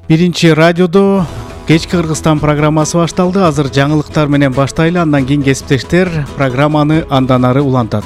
Биринчи радиодо кечки Кыргызстан программасы башталды. Азыр жаңылыктар менен баштайлы, андан кийин кесиптештер программаны андан ары улантат.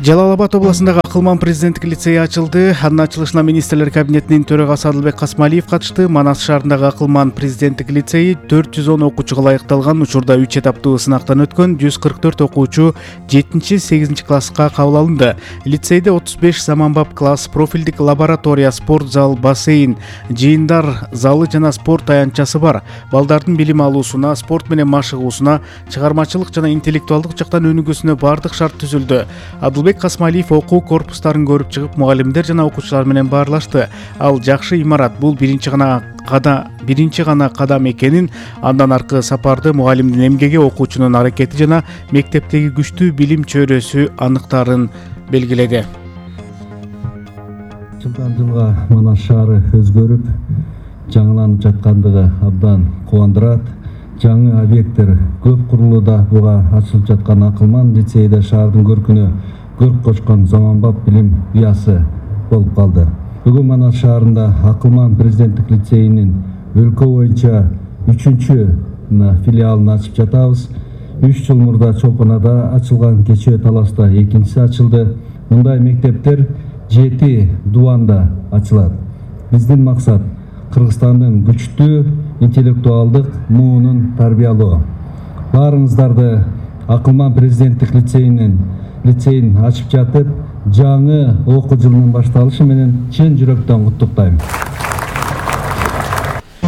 Жалал Абад областындагы Акылман президенттик лицейи ачылды. Анын ачылышына министрлер кабинетинин төрагасы Адылбек Касмалиев катышты. Манас шаарындагы Акылман президенттик лицейи 410 окуучуга ылайыкталган. Учурда 3 этаптуу сынактан өткөн 144 окуучу 7-8 класска кабыл алынды. Лицейде 35 заманбап класс, профилдик лаборатория, спорт зал, бассейн, жыйындар залы жана спорт аянтчасы бар. Балдардын билим алуусуна, спорт менен машыгуусуна, чыгармачылык жана интеллектуалдык жактан өнүгүүсүнө бардык шарт түзүлдү. Адылбек Касмалиев окуу корпустарын көрүп чыгып, мугалимдер жана окуучулар менен баарлашты. Ал жакшы имарат, бул биринчи гана кадам экенин, андан аркы сапарды мугалимдин эмгеги, окуучунун аракети жана мектептеги күчтүү билим чөйрөсү аныктарын белгиледи. Жылдан жылга Манас шаары өзгөрүп, жаңыланып жаткандыгы абдан кубандырат. Жаңы объекттер көп курулууда. Буга ачылып жаткан Акылман лицейде шаардын көркүнө көрк кочкон заманбап билим уясы болуп калды. Бүгүн Манас шаарында Акылман президенттик лицейинин өлкө боюнча 3-чү филиалын ачып жатабыз. 3 жыл мурда Чолпонада ачылган, кечээ Таласта экинчиси ачылды. Мындай мектептер 7 дубанда ачылат. Биздин максат Кыргызстандын күчтүү интеллектуалдык муунун тарбиялоо. Баарыңыздарды Акылман президенттик лицейин ачып жатып, жаңы окуу жылынын башталышы менен чын жүрөктөн куттуктайм.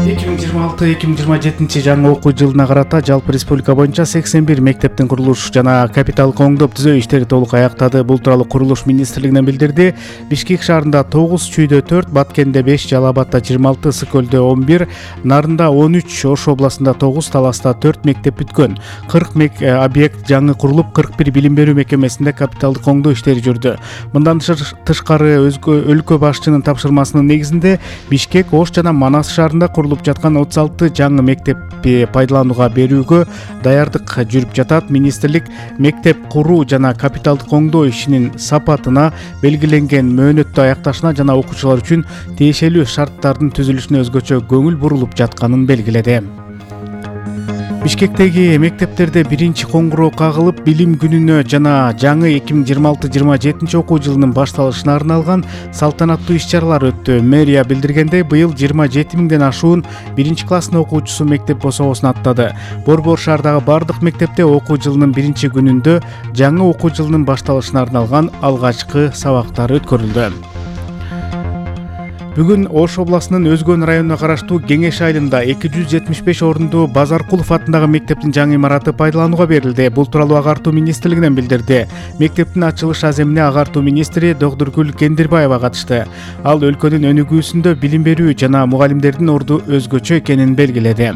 2026-2027 жаңы окуу жылына карата жалпы республика боюнча 81 мектептин курулуш жана капитал коңдоп түзөө иштери толук аяктады. Бул тууралуу курулуш министрлигинен билдирди. Бишкек шаарында 9, Чүйдө 4, Баткенде 5, Жалал Абадта 26, Ысык-Көлдө 11, Нарында 13, Ош областында 9, Таласта 4 мектеп бүткөн. 40 объект жаңы курулуп, 41 билим берүү мекемесинде капиталдык коңдоо иштери жүрдү. Мындан тышкары өлкө башчынын тапшырмасынын негизинде Бишкек, Ош жана Манас шаарында курулуп жаткан 36 жаңы мектепти пайдаланууга берүүгө даярдык жүрүп жатат. Министрлик мектеп куруу жана капиталдык коңдоо ишинин сапатына, белгиленген мөөнөттө аякташына жана окуучулар үчүн тиешелүү шарттардын түзүлүшүнө өзгөчө көңүл бурулуп жатканын белгиледи. Бишкектеги мектептерде биринчи коңгуроо кагылып, билим күнүнө жана жаңы 2026-27 окуу жылынын башталышына арналган салтанаттуу иш-чаралар өттү. Мэрия билдиргендей, быйыл 27 миңден ашуун биринчи класстын окуучусу мектеп босогосун аттады. Борбор шаардагы бардык мектепте окуу жылынын биринчи күнүндө жаңы окуу жылынын башталышына арналган алгачкы сабактар өткөрүлдү. Бүгүн Ош областынын Өзгөн районуна караштуу Кеңеш айылында 275 орунду Базаркулов атындагы мектептин жаңы имараты пайдаланууга берилди. Бул тууралуу агартуу министрлигинен билдирди. Мектептин ачылыш аземине агартуу министри Догдургүл Кендирбаева катышты. Ал өлкөнүн өнүгүүсүндө билим берүү жана мугалимдердин орду өзгөчө экенин белгиледи.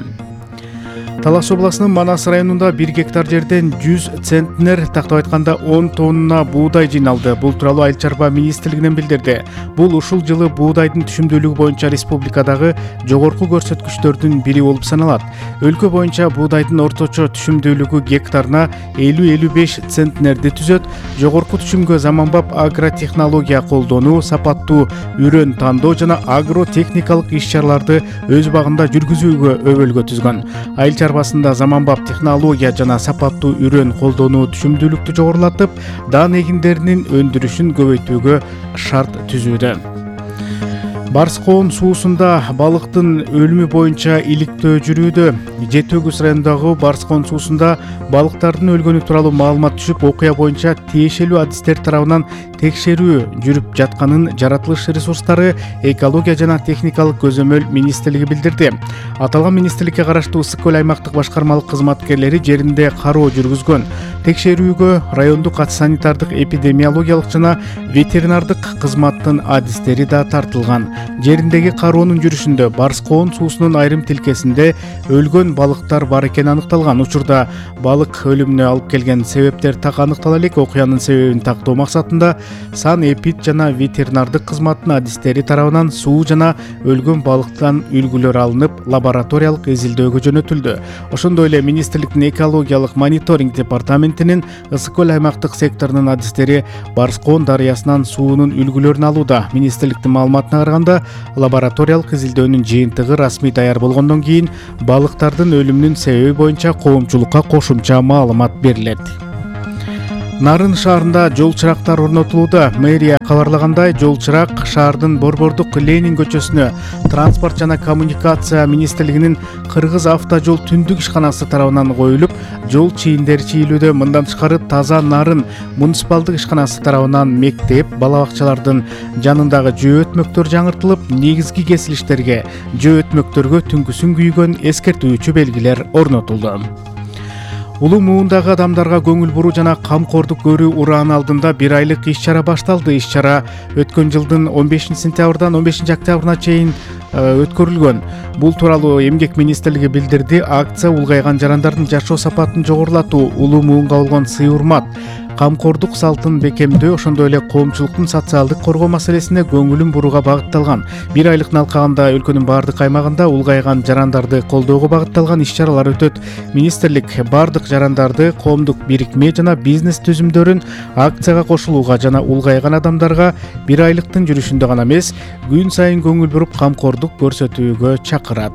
Талас областынын Манас районунда 1 гектар жерден 100 центнер, тактап айтканда 10 тонна буудай жыйналды. Бул тууралуу Айыл чарба министрлигинен билдирди. Бул ушул жылы буудайдын түшүмдүүлүгү боюнча республикадагы жогорку көрсөткүчтөрдүн бири болуп саналат. Өлкө боюнча буудайдын орточо түшүмдүүлүгү гектарына 50-55 центнерди түзөт. Жогорку түшүмгө заманбап агротехнология колдонуу, сапаттуу үрөн тандоо жана агротехникалык иш-чараларды өз багында жүргүзүүгө өбөлгө түзгөн. Айыл чарбасында заманбап технология жана сапаттуу үрөн колдонуу түшүмдүүлүктү жогорулатып, даан эгиндеринин өндүрүшүн көбөйтүүгө шарт түзүүдө. Барскоон суусунда балыктын өлүмү боюнча иликтөө жүрүүдө. Жети Өгүз районундагы Барскоон суусунда балыктардын өлгөнү тууралуу маалымат түшүп, окуя боюнча тиешелүү адистер тарабынан текшерүү жүрүп жатканын Жаратылыш ресурстары, экология жана техникалык көзөмөл министрлиги билдирди. Аталган министрликке караштуу Ысык-Көл аймактык башкармалык кызматкерлери жеринде кароо жүргүзгөн. Текшерүүгө райондук санитардык эпидемиологиялык жана ветеринардык кызматтын адистери да тартылган. Жериндеги кароонун жүрүшүндө Барскоон суусунун айрым тилкесинде өлгөн балыктар бар экени аныкталган. Учурда балык өлүмүнө алып келген себептер так аныктала элек. Окуянын себебин тактоо максатында санэпид жана ветеринардык кызматтын адистери тарабынан суу жана өлгөн балыктан үлгүлөр алынып, лабораториялык изилдөөгө жөнөтүлдү. Ошондой эле министрликтин экологиялык мониторинг департаментинин Ысык көл аймактык секторунун адистери Барскоон дарыясынан суунун үлгүлөрүн алууда. Министрликтин маалыматына караганда, лабораториялык изилдөөнүн жыйынтыгы расмий даяр болгондон кийин балыктардын өлүмүнүн себеби боюнча коомчулукка кошумча маалымат берилет. Нарын шаарында жол чырактар орнотулууда. Мэрия кабарлагандай, жол чырак шаардын Борбордук Ленин көчөсүнө Транспорт жана коммуникация министрлигинин Кыргыз автожол түндүк ишканасы тарабынан коюлуп, жол чийиндери чийилүүдө. Мындан тышкары Таза Нарын муниципалдык ишканасы тарабынан мектеп, бала бакчалардын жанындагы жөө өтмөктөр жаңыртылып, негизги кесилиштерге, жөө өтмөктөргө түнкүсүн күйгөн эскертүүчү белгилер орнотулду. Улуу муундагы адамдарга көңүл буруу жана камкордук көрүү урааны алдында 1 айлык иш-чара башталды. Иш-чара өткөн жылдын 15 сентябрдан 15 октябрына чейин өткөрүлгөн. Бул тууралуу Эмгек министрлиги билдирди. Акция улгайган жарандардын жашоо сапатын жогорулатуу, улуу муунга болгон сый-урмат, камкордук салтын бекемдөө, ошондой эле коомчулуктун социалдык коргоо маселесине көңүлүн бурууга багытталган. 1 айлык алкагында өлкөнүн бардык аймагында улгайган жарандарды колдоого багытталган иш-чаралар өтөт. Министрлик бардык жарандарды, коомдук бирикме жана бизнес түзүмдөрүн акцияга кошулууга жана улгайган адамдарга 1 айлыктын жүрүшүндө гана эмес, күн сайын көңүл буруп камкордук көрсөтүүгө чакырат.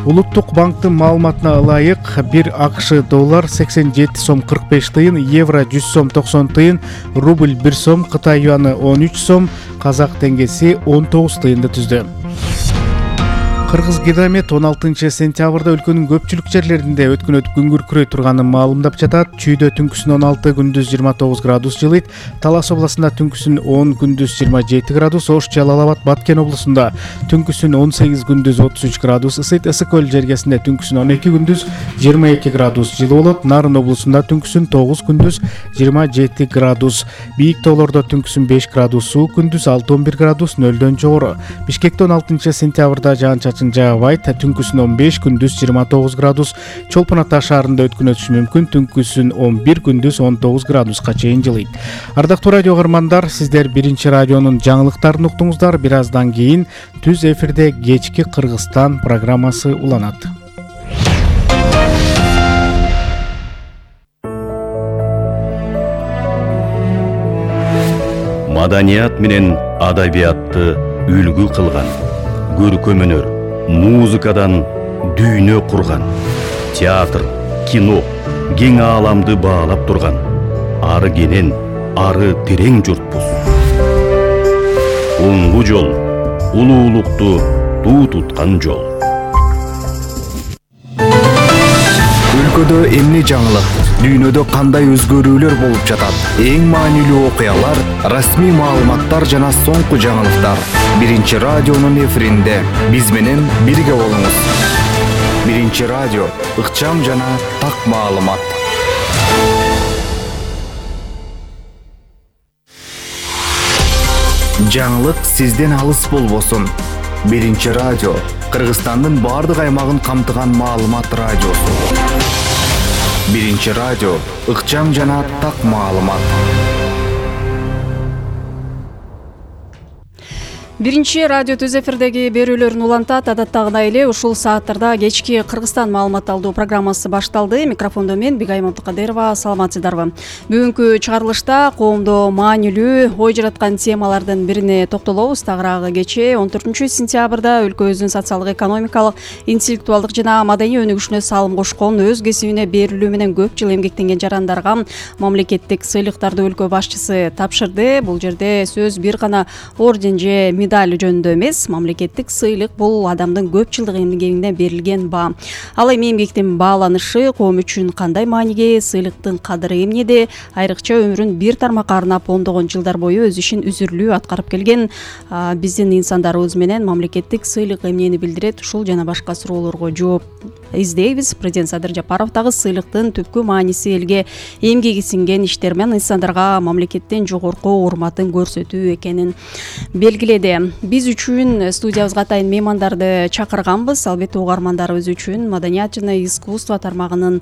Улуттук банктын маалыматына ылайык, 1 АКШ доллар 87 сом 45 тыйын, евро 100 сом 90 тыйын, рубль 1 сом, Кытай юаны 13 сом, казак теңгеси 19 тыйынды түздү. Кыргыз Гидромет 16 сентябрда өлкөнүн көпчүлүк жерлеринде өткүнөт күн күркүрөй турганын маалымдап жатат. Чүйдө түнкүсүн 16, күндүз 29 градус жылыйт. Талас областында түнкүсүн 10, күндүз 27 градус, Ош, Жалал Абад, Баткен областында түнкүсүн 18, күндүз 33 градус ысыйт. Ысык көл жергесинде түнкүсүн 12, күндүз 22 градус жылы болот. Нарын облусунда түнкүсүн 9, күндүз 27 градус. Бийик тоолордо түнкүсүн 5 градус суук, күндүз 6-11 градус нөлдөн жогору. Бишкекте 16 сентябрда жаан-чачын жаагыбайт, түнкүсүн 15, күндүз 29 градус. Чолпон Ата шаарында өткүн өтүшү мүмкүн, түнкүсүн 11, күндүз 19 градуска чейин жылыйт. Ардактуу радио каармандар, сиздер Биринчи радионун жаңылыктарын уктуңуздар. Бир аздан кийин түз эфирде кечки Кыргызстан программасы уланат. Маданият менен адабиятты үлгү кылган, көркөм өнөр, музыкадан дүйнө курган, театр, кино, кең ааламды баалап турган, ары кенен, ары терең журтпуз. Оңгу жол, улуулукту туу туткан жол. Өлкөдө эмне жаңылык, дүйнөдө кандай өзгөрүүлөр болуп жатат? Эң маанилүү окуялар, расмий маалыматтар жана соңку жаңылыктар. Биринчи радионун эфиринде биз менен бирге болуңуз. Биринчи радио, ыкчам жана так маалымат. Жаңылык сизден алыс болбосун. Биринчи радио, Кыргызстандын бардык аймагын камтыган маалымат радиосу. Биринчи радио, ыкчам жана так маалымат. Биринчи радио түз эфирдеги берүүлөрүн улантат. Адаттагыдай эле ушул сааттарда кечки Кыргызстан маалымат алуу программасы башталды. Микрофондо мен Бигайым Абдыкадырова. Саламатсыздарбы? Бүгүнкү чыгарылышта коомдо маанилүү ой жараткан темалардын бирине токтолобуз. Тагыраагы кечээ 14 сентябрда өлкөбүздүн социалдык, экономикалык, интеллектуалдык жана маданий өнүгүшүнө салым кошкон, өз кесибине берилүү менен көп жыл эмгектенген жарандарга мамлекеттик сыйлыктарды өлкө башчысы тапшырды. Бул жерде сөз бир гана орден же медаль жөнүндө эмес, мамлекеттик сыйлык бул адамдын көп жылдык эмгегине берилген баа. Ал эми эмгектин бааланышы коом үчүн кандай мааниге, сыйлыктын кадыры эмнеде, айрыкча өмүрүн бир тармакка арнап ондогон жылдар бою өз ишин үзүрлүү аткарып келген биздин инсандарыбыз менен мамлекеттик сыйлык эмнени билдирет, ушул жана башка суроолорго жооп издейбиз. Президент Садыр Жапаров дагы сыйлыктын түпкү мааниси элге эмгеги сиңген иштермен инсандарга мамлекеттен жогорку урматын көрсөтүү экенин белгиледи. Биз үчүн студиябызга атайын меймандарды чакырганбыз. Албетте угармандарыбыз үчүн маданият жана искусство тармагынын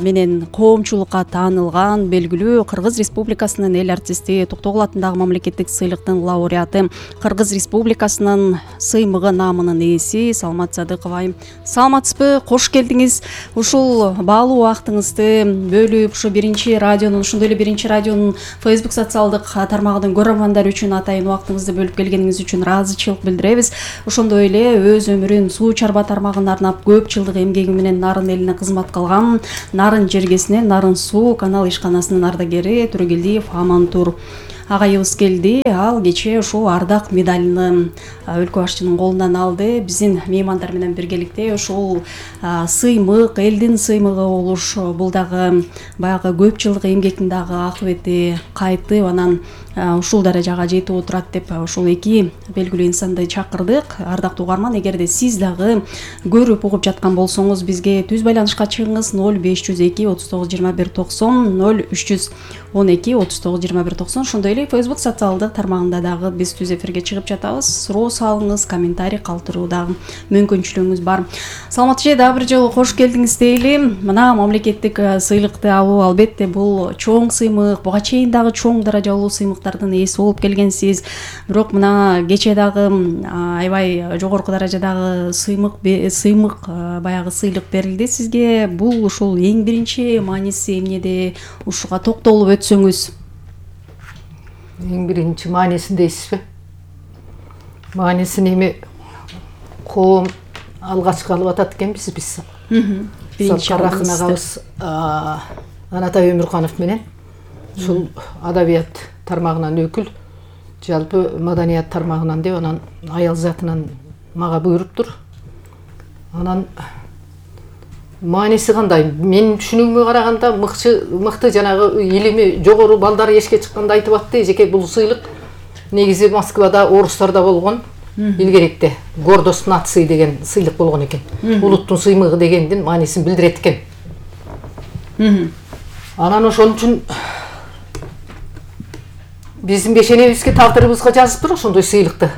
менен коомчулукка таанылган белгилүү Кыргыз Республикасынын эл артисти, Токтогул атындагы мамлекеттик сыйлыктын лауреаты, Кыргыз Республикасынын сыймыгы наамынын ээси Салмат Садыкова. Саламатсызбы? Кош келдиңиз. Ушул баалуу убактыңызды бөлүп, ушу биринчи радионун, ошондой эле биринчи радионун Facebook социалдык тармагынын көрөрмандары үчүн атайын убактыңызды бөлүп келгениңиз үчүн ыраазычылык билдиребиз. Ошондой эле өз өмүрүн суу чарба тармагына арнап көп жылдык эмгеги менен Нарын элине кызмат кылган Нарын жергесинен Нарын суу канал ишканасынын ардагери Турегелдиев Амантур агайыбыз келди. Ал кечээ ушул ардак медалын өлкө башчынын колунан алды. Биздин меймандар менен биргеликте ушул сыймык, элдин сыймыгы болуш, бул дагы баягы көп жылдык эмгектин дагы акыбети кайтып, анан ушул даражага жетип отурат деп ушул эки белгилүү инсанды чакырдык. Ардактуу угарман, эгерде сиз дагы көрүп угуп жаткан болсоңуз, бизге түз байланышка чыгыңыз. 0502 39 21 90 0312 39 21 90. Ошондой эле Facebook социалдык тармагында дагы биз түз эфирге чыгып жатабыз. Суроо салыңыз, комментарий калтыруу дагы мүмкүнчүлүгүңүз бар. Саламат эже, дагы бир жолу кош келдиңиз дейли. Мына мамлекеттик сыйлыкты алуу албетте бул чоң сыймык, буга чейин дагы чоң даражалуу сыймыктардын ээси болуп келгенсиз. Бирок мына кечээ дагы аябай жогорку даражадагы сыймык баягы сыйлык берилди сизге. Бул ушул эң биринчи мааниси эмнеде, ушуга токтолуп өтсөңүз. Эң биринчи маанисин дейсизби? Маанисин эми коом алгачкы алып атат экенбиз биз. Биринчи Рахын агабыз Анатай Өмүрканов менен ушул адабият тармагынан өкүл, жалпы маданият тармагынан деп, анан аял затынан мага буйруптур. Анан мааниси кандай? Мен түшүнүгүмө караганда мыкты жанагы илими жогору балдар эшикке чыкканда айтып атты, эжеке бул сыйлык негизи Москвада, орустарда болгон. Илгеректе гордость нации деген сыйлык болгон экен. Улуттун сыймыгы дегендин маанисин билдирет экен. Анан ошон үчүн биздин бешенебизге, тагдырыбызга жазыптыр ошондой сыйлыкты.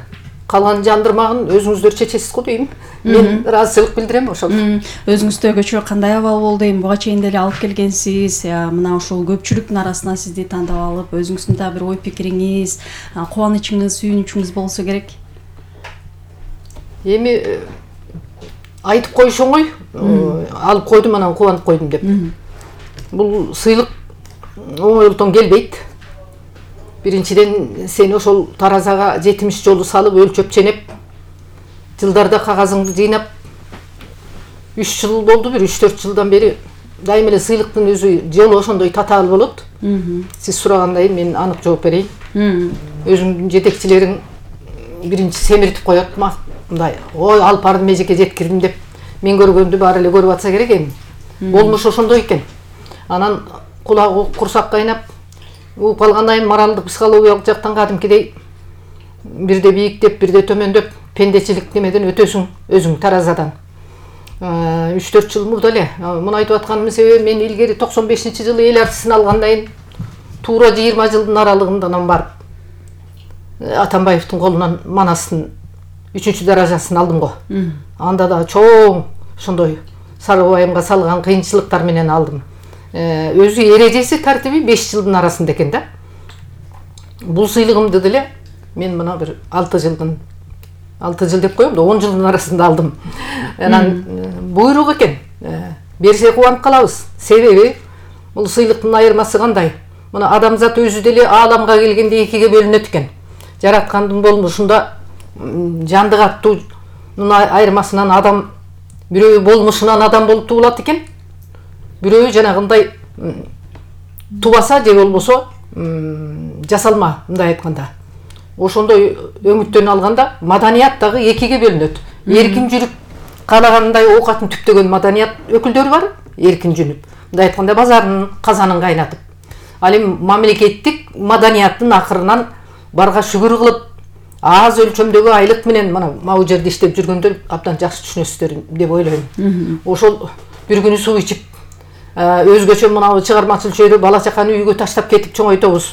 Калган жандырмагын өзүңүздөр чечесиз го дейм. Мен ыраазычылык билдирем ошол. Өзүңүздө көчө кандай абал болду? Эми буга чейин деле алып келгенсиз. Мына ушул көпчүлүктүн арасына сизди тандап алып, өзүңүздүн да бир ой пикириңиз, кубанычыңыз, сүйүнүчүңүз болсо керек. Эми айтып коюш оңой, алып койдум, анан кубанып койдум деп. Бул сыйлык оңойлуктан келбейт. Биринчиден сени ошол таразага 70 жолу салып, өлчөп ченеп, жылдарда кагазыңды жыйнап, 3 жыл болду, бир 3-4 жылдан бери дайым эле сыйлыктын өзү жолу ошондой татаал болот. Сиз сурагандай мен анык жооп берейин. Өзүңдүн жетекчилериң биринчи семиртип коет, мындай, ой алып бардым эжеке жеткирдим деп, мен көргөндү баары эле көрүп атса керек эми. Болмуш ошондой экен. Анан кулагы курсак кайнап, угуп калгандан кийин моралдык, психологиялык жактан кадимкидей бирде бийиктеп, бирде төмөндөп, пендечилик немеден өтөсүң өзүң таразадан. 3-4 жыл мурда эле муну айтып атканымдын себеби, мен илгери 95-жылы эл артисин алгандан кийин туура 20 жылдын аралыгында анан барып Атамбаевдин колунан Манастын 3-чү даражасын алдым го. Анда да чоң ошондой Сарыбайымга салган кыйынчылыктар менен алдым. Өзү эрежеси, тартиби 5 жылдын арасында экен да. Бул сыйлыгымды деле мен мына бир 6 жыл деп коем да, 10 жылдын арасында алдым. Анан буйрук экен. Берсе кубанып калабыз. Себеби бул сыйлыктын айырмасы кандай? Мына адамзат өзү деле ааламга келгенде экиге бөлүнөт экен. Жараткандын болмушунда жандык аттуунун айырмасынан адам, бирөө болмушунан адам болуп туулат экен. Бирөө жанагындай тубаса же болбосо жасалма, мындай айтканда. ошондой өңүттөн алганда маданият дагы экиге бөлүнөт. Эркин жүрүп каалагандай оокатын түптөгөн маданият өкүлдөрү бар, эркин жүрүп, мындай айтканда базарын казанын кайнатып. Ал эми мамлекеттик маданияттын акырынан барга шүгүр кылып, аз өлчөмдөгү айлык менен мына могу жерде иштеп жүргөндөр абдан жакшы түшүнөсүздөр деп ойлойм. Ошол бир күнү суу ичип, өзгөчө мына чыгармачыл чөйрө бала чаканы үйгө таштап кетип чоңойтобуз.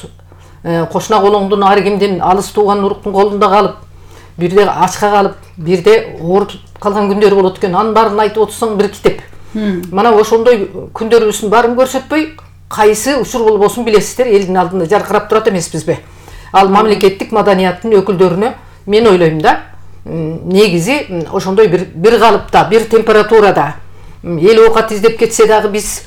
Кошуна колуңдун ар кимдин алыс тууган уруктун колунда калып, бирде ачка калып, бирде ооруп калган күндөр болот экен. Анын баарын айтып отурсаң бир китеп. Мына ошондой күндөрүбүздүн баарын көрсөтпөй, кайсы учур болбосун билесиздер, элдин алдында жаркырап турат эмеспизби? Ал мамлекеттик маданияттын өкүлдөрүнө мен ойлойм да, негизи ошондой бир калыпта, бир температурада эл оокат издеп кетсе дагы биз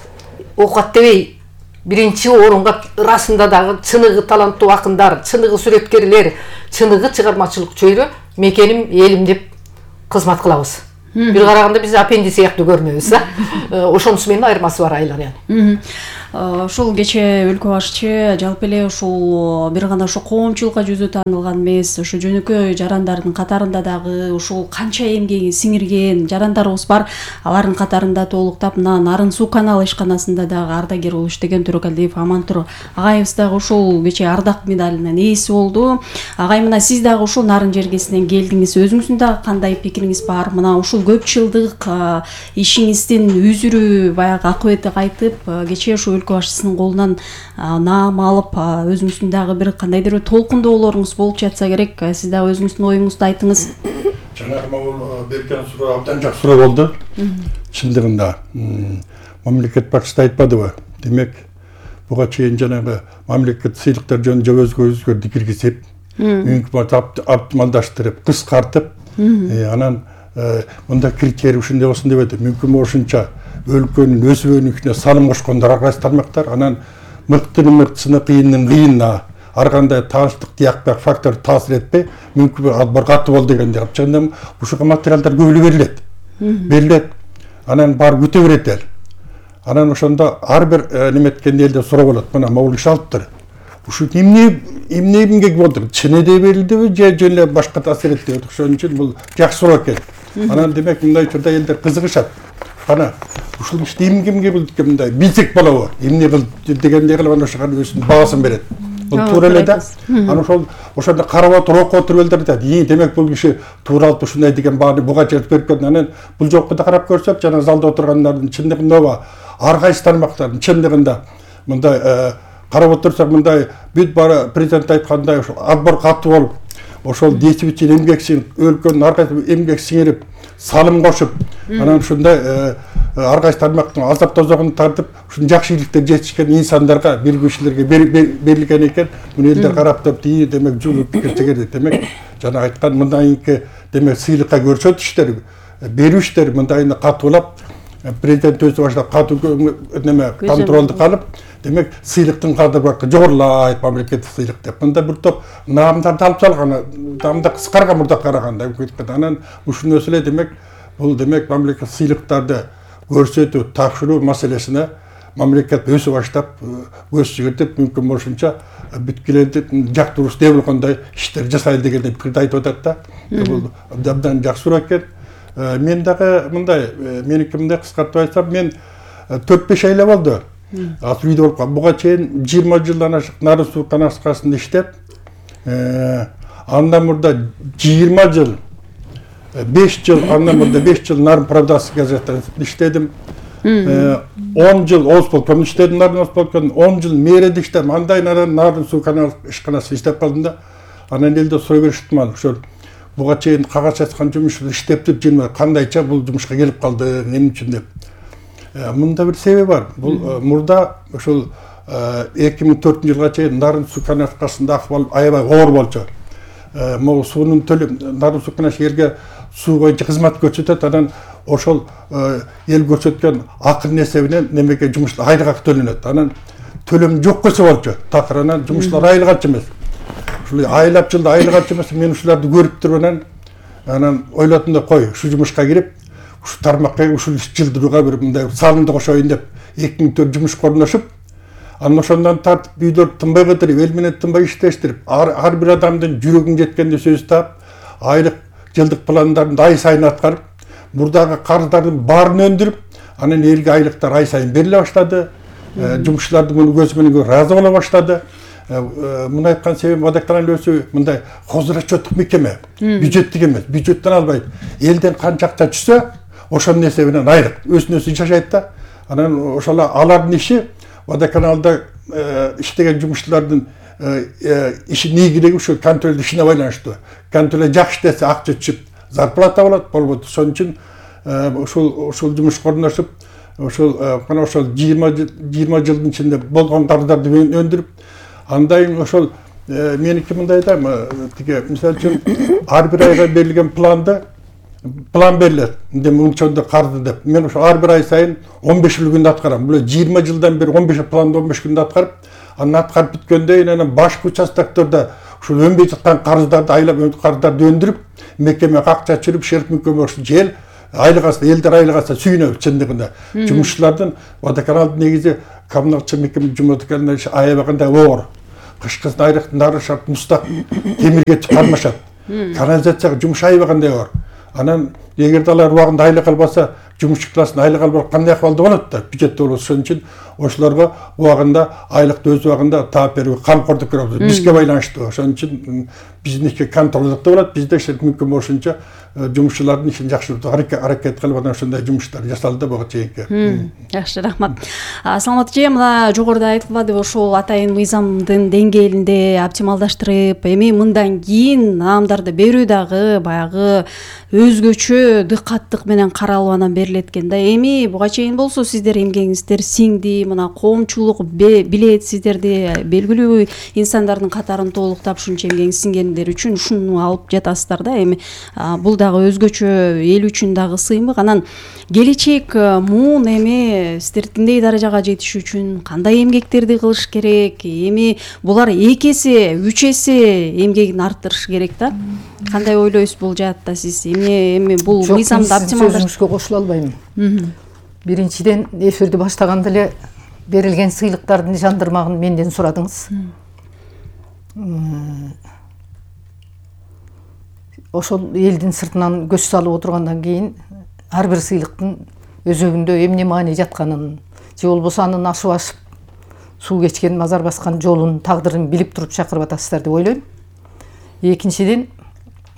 оокат дебей биринчи орунга ырасында дагы чыныгы таланттуу акындар, чыныгы сүрөткерлер, чыныгы чыгармачылык чөйрө мекеним, элим деп кызмат кылабыз. Бир караганда биз апенди сыяктуу көрүнөбүз, ошонусу менен айырмасы бар айлар. Ушул кече өлкө башчы жалпы эле ушул бир гана ошо коомчулукка жүзү таанылган эмес, ошо жөнөкөй жарандардын катарында дагы ушул канча эмгегин сиңирген жарандарыбыз бар. Алардын катарында толуктап мына Нарын суу каналы ишканасында дагы ардагер болуп иштеген Төрөкалиев Амантур агайыбыз дагы ушул кече ардак медалынын ээси болду. Агай, мына сиз дагы ушул Нарын жергесинен келдиңиз. Өзүңүздүн дагы кандай пикириңиз бар? Мына ушул көп жылдык ишиңиздин үзүрү баягы акыбети кайтып, кече ушул өлкө башчысынын колунан наам алып, өзүңүздүн дагы бир кандайдыр бир толкундоолоруңуз болуп жатса керек. Сиз дагы өзүңүздүн оюңузду айтыңыз. Жанагы могул берген суроо абдан жакшы суроо болду. Чындыгында мамлекет башчысы айтпадыбы? Демек, буга чейин жанагы мамлекет сыйлыктар жөнүндө өзгөрдү киргизип, мүмкүн оптималдаштырып, кыскартып, анан мында критерий ушундай болсун деп атат. Мүмкүн ошунча өлкөнүн өсүүнүнө салым кошкондор ар кайсы тармактар, анан мыктынын мыктысына, кыйындын кыйынына ар кандай тааныштык тиякпак фактор таасир этпей, мүмкүн албар катуу болду дегенде чындыгында ушуга материалдар көп эле берилет. Анан бар күтө берет эл. Анан ошондо ар бир неметкен элде суроо болот. Мына могул иш алыптыр. Ушу эмнеге болду? Чын эде берилдиби же жөн эле башка таасир этти? Ошон үчүн бул жакшы суроо экен. Анан демек мындай учурда элдер кызыгышат. Ана ушул ишти кимге болду экен, мындай билсек болобу? Эмне кылды дегендей кылып ана ошого өзүнүн баасын берет. Бул туура эле да. Ана ошондо карап отуруп окуп отуруп элдер айтат. Демек бул киши тууралып ушундай деген бааны буга жазып берип кеткен. Анан бул жокку да карап көрсөк, жана залда отургандардын чындыгында ар кайсы тармактардын чындыгында мындай карап отурсак, мындай бүт бара президент айткандай ошо отбор катуу болуп, ошол десип үчүн эмгек сиңирип, өлкөнүн ар кайсы эмгек сиңирип, салым кошуп, анан ушундай ар кайсы тармактын азап тозогун тартып, ушун жакшы ийгиликтерди жетишкен инсандарга, билгүчүлөргө берилген экен. Муну элдер карап туруп, демек жолу пикир чегерди. Демек, жана айткан мындайынкы демек сыйлыкка көрсөтүштөр, берүүштөр мындайына катуулап, президент өзү баштап катуу неме контролду калып, демек сыйлыктын кадыры жогорулайт, мамлекеттик сыйлык деп. Мында бир топ наамдарды алып салган, наамда кыскарган мурда караганда. Анан ушунусу эле демек, бул демек мамлекеттик сыйлыктарды көрсөтүү, тапшыруу маселесине мамлекет өзү баштап көз жүгүртүп, мүмкүн болушунча бүткүлөрдү жактыруушу деп болгондой иштер жасайлы дегендей пикирди айтып атат да. Бул абдан жакшы суроо экен. Мен дагы мындай, меники мындай кыскартып айтсам, мен 4-5 айла болду. Асыл үйдө болуп, буга чейин 20 жылдан ашык Нарын суу каналында иштеп, андан мурда 20 жыл, 5 жыл, андан мурда 5 жыл Нарын Правдасы газетасында иштедим. 10 жыл Осполкомдо иштедим, Нарын Осполкомдо 10 жыл мэрияда иштедим. Андай Нарын суу каналы ишканасында иштеп калдым да. Анан элде суроо беришти мага, ошол буга чейин кагаз жазган жумуш иштептип жүрмө, кандайча бул жумушка келип калды, эмне үчүн деп. Мында бир себеби бар. Бул мурда ошол 2004-жылга чейин Нарын суу каналында акыбал аябай оор болчу. Могу суунун төлөп, Нарын суу каналы элге суу боюнча кызмат көрсөтөт, анан ошол эл көрсөткөн акын эсебинен немеге жумуштар айлык төлөнөт. Анан төлөм жок болсо болчу. Такыр анан жумуштар айлык эмес. Ушул айлап жылда айлык эмес, мен ушуларды көрүп туруп анан ойлодум да, кой, ушу жумушка кирип, ушу тармакка ушул иш жылдырууга бир мындай салымды кошоюн деп 2004 жумуш корлошуп, Анан ошондон тартып үйдөрдү тынбай кыдырып, эл менен тынбай иштештирип, ар бир адамдын жүрөгүн жеткенде сөз таап, айлык жылдык пландарын ай сайын аткарып, мурдагы карыздардын баарын өндүрүп, анан элге айлыктар ай сайын бериле баштады. Жумушчулар муну көз менен көрүп ыраазы боло баштады. Муну айткан себебим водоканал өзү мындай хозурачеттик мекеме, бюджеттик эмес, бюджеттен албайт. Элден канча акча түшсө, ошонун эсебинен айлык өзүнө жашайт да. Анан ошол алардын иши водоканалда иштеген жумушчулардын иши негизги ушул контролдун ишине байланыштуу. Контрол жакшы иштесе акча түшүп, зарплата болот. Ошон үчүн ушул жумуш корунушуп, ошол 20 жылдын ичинде болгон карыздарды өндүрүп, андай ошол меники мындай да, тиги мисалы үчүн ар бир айга берилген план берилет. Мынчондо карды деп. Мен ошо ар бир ай сайын 15 күндө аткарам. Бул 20 жылдан бери 15 планды 15 күндө аткарып, анан аткарып бүткөндөн кийин анан башкы участоктордо ушул өнбөй жаткан карыздарды айлап карыздарды өндүрүп, мекемеге акча чырып, шерп мекеме жел айлыгаса, элдер айлыгаса сүйүнөбүз чындыгында. Жумушчулардын водоканалдын негизи коммуналчы мекеме жумушчуларына аябагандай оор. Кышкы айлыктын ары шарт мустак темирге кармашат. Канализацияга жумуш аябагандай оор. Анан эгерде алар убагында айлык албаса, жумушчу классын айлык албай кандай акыбалда болот да, бюджетте болот. Ошон үчүн ошолорго убагында айлыкты өз убагында таап берүүгө камкордук көрөбүз. Бизге байланыштуу. Ошон үчүн биздики контролдукта болот. Бизде мүмкүн болушунча жумушчулардын ишин жакшыртууга аракет кылып, анан ошондой жумуштар жасалды буга чейинки. Жакшы, рахмат. Саламат эже, мына жогоруда айтылбадыбы, ошол атайын мыйзамдын деңгээлинде оптималдаштырып, эми мындан кийин наамдарды берүү дагы баягы өзгөчө дыкаттык менен каралып анан берилет экен да. Эми буга чейин болсо сиздер эмгегиңиздер сиңди, мына коомчулук билет сиздерди, белгилүү инсандардын катарын толуктап ушунча эмгегиңиз сиңгендер үчүн ушуну алып жатасыздар да. Эми бул дагы өзгөчө эл үчүн дагы сыймык. Анан келечек муун эми сиздердиндей даражага жетиш үчүн кандай эмгектерди кылыш керек? Эми булар 2 эсе, 3 эсе эмгегин арттырыш керек да. Кандай ойлойсуз бул жаатта сиз? Эми бул мыйзамды оптималдаштырып сөзүңүзгө кошула албайм. Биринчиден эфирди баштаганда эле берилген сыйлыктардын жандырмагын менден сурадыңыз. Ошол элдин сыртынан көз салып отургандан кийин ар бир сыйлыктын өзөгүндө эмне маани жатканын, же болбосо анын ашып ашып суу кечкен, мазар баскан жолун, тагдырын билип туруп чакырып атасыздар деп ойлойм. Экинчиден,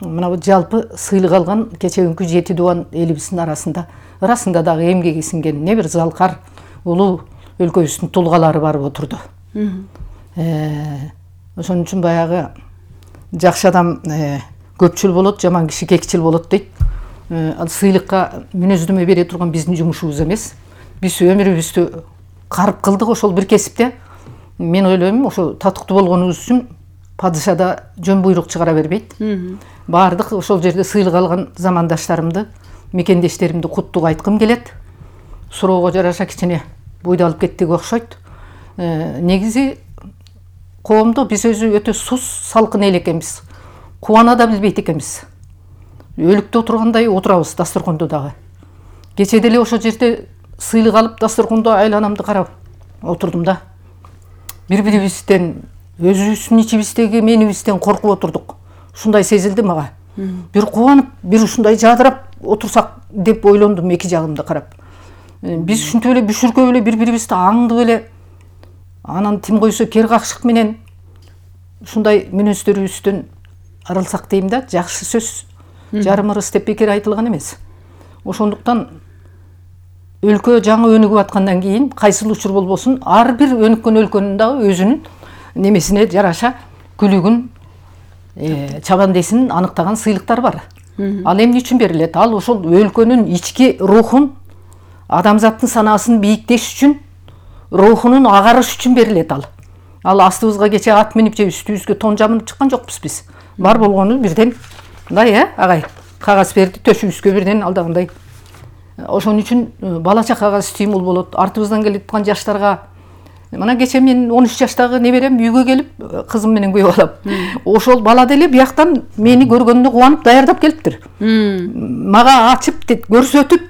мына жалпы сыйлык алган кечеги 7 дубан элибиздин арасында дагы эмгеги сиңген не бир залкар улуу өлкөбүздүн тулгалары барып отурду. Ошон үчүн баягы жакшы адам көпчүл болот, жаман киши кекчил болот дейт. Ал сыйлыкка мүнөздөмө бере турган биздин жумушубуз эмес. Биз өмүрүбүздү карып кылдык ошол бир кесипте. Мен ойлойм, ошо татыктуу болгонубуз үчүн падышада жөн буйрук чыгара бербейт. Баардык ошол жерде сыйлык алган замандаштарымды, мекендештеримди куттук айткым келет. Суроого жараша кичине буйду алып кеттик окшойт. Негизи коомдо биз өзү өтө сус, салкын эл экенбиз. Кубана да билбейт экенбиз. Өлүктө отургандай отурабыз дасторкондо дагы. Кече деле ошол жерде сыйлык алып дасторкондо айланамды карап отурдум да. Бири-бирибизден, өзүбүздүн ичибиздеги менибизден коркуп отурдук. Ушундай сезилди мага. Бир кубанып, бир ушундай жадырап отурсак деп ойлондум эки жагымды карап. Биз ушинтип эле бүшүркөп эле бири-бирибизди аңдып эле, анан тим койсо кер какшык менен ушундай мүнөздөрүбүздөн арылсак дейм да, жакшы сөз. Жарым ырыс деп бекер айтылган эмес. Ошондуктан өлкө жаңы өнүгүп аткандан кийин кайсыл учур болбосун, ар бир өнүккөн өлкөнүн дагы өзүнүн немесине жараша күлүгүн, чабандесин аныктаган сыйлыктар бар. Ал эмне үчүн берилет? Ал ошол өлкөнүн ички рухун, адамзаттын санаасын бийиктеш үчүн, рухунун агарыш үчүн берилет ал. Ал астыбызга кече ат минип же үстүбүзгө тон жамынып чыккан жокпуз биз. Бар болгону бирден мындай, агай, кагаз берди, төшүбүзгө бирден алдагандай. Ошон үчүн бала чакага стимул болот. Артыбыздан келип аткан жаштарга, мына кече мен 13 жаштагы неберем үйгө келип, кызым менен күйөп алам. Ошол бала деле бияктан мени көргөнүнө кубанып даярдап келиптир. Мага ачып, көрсөтүп,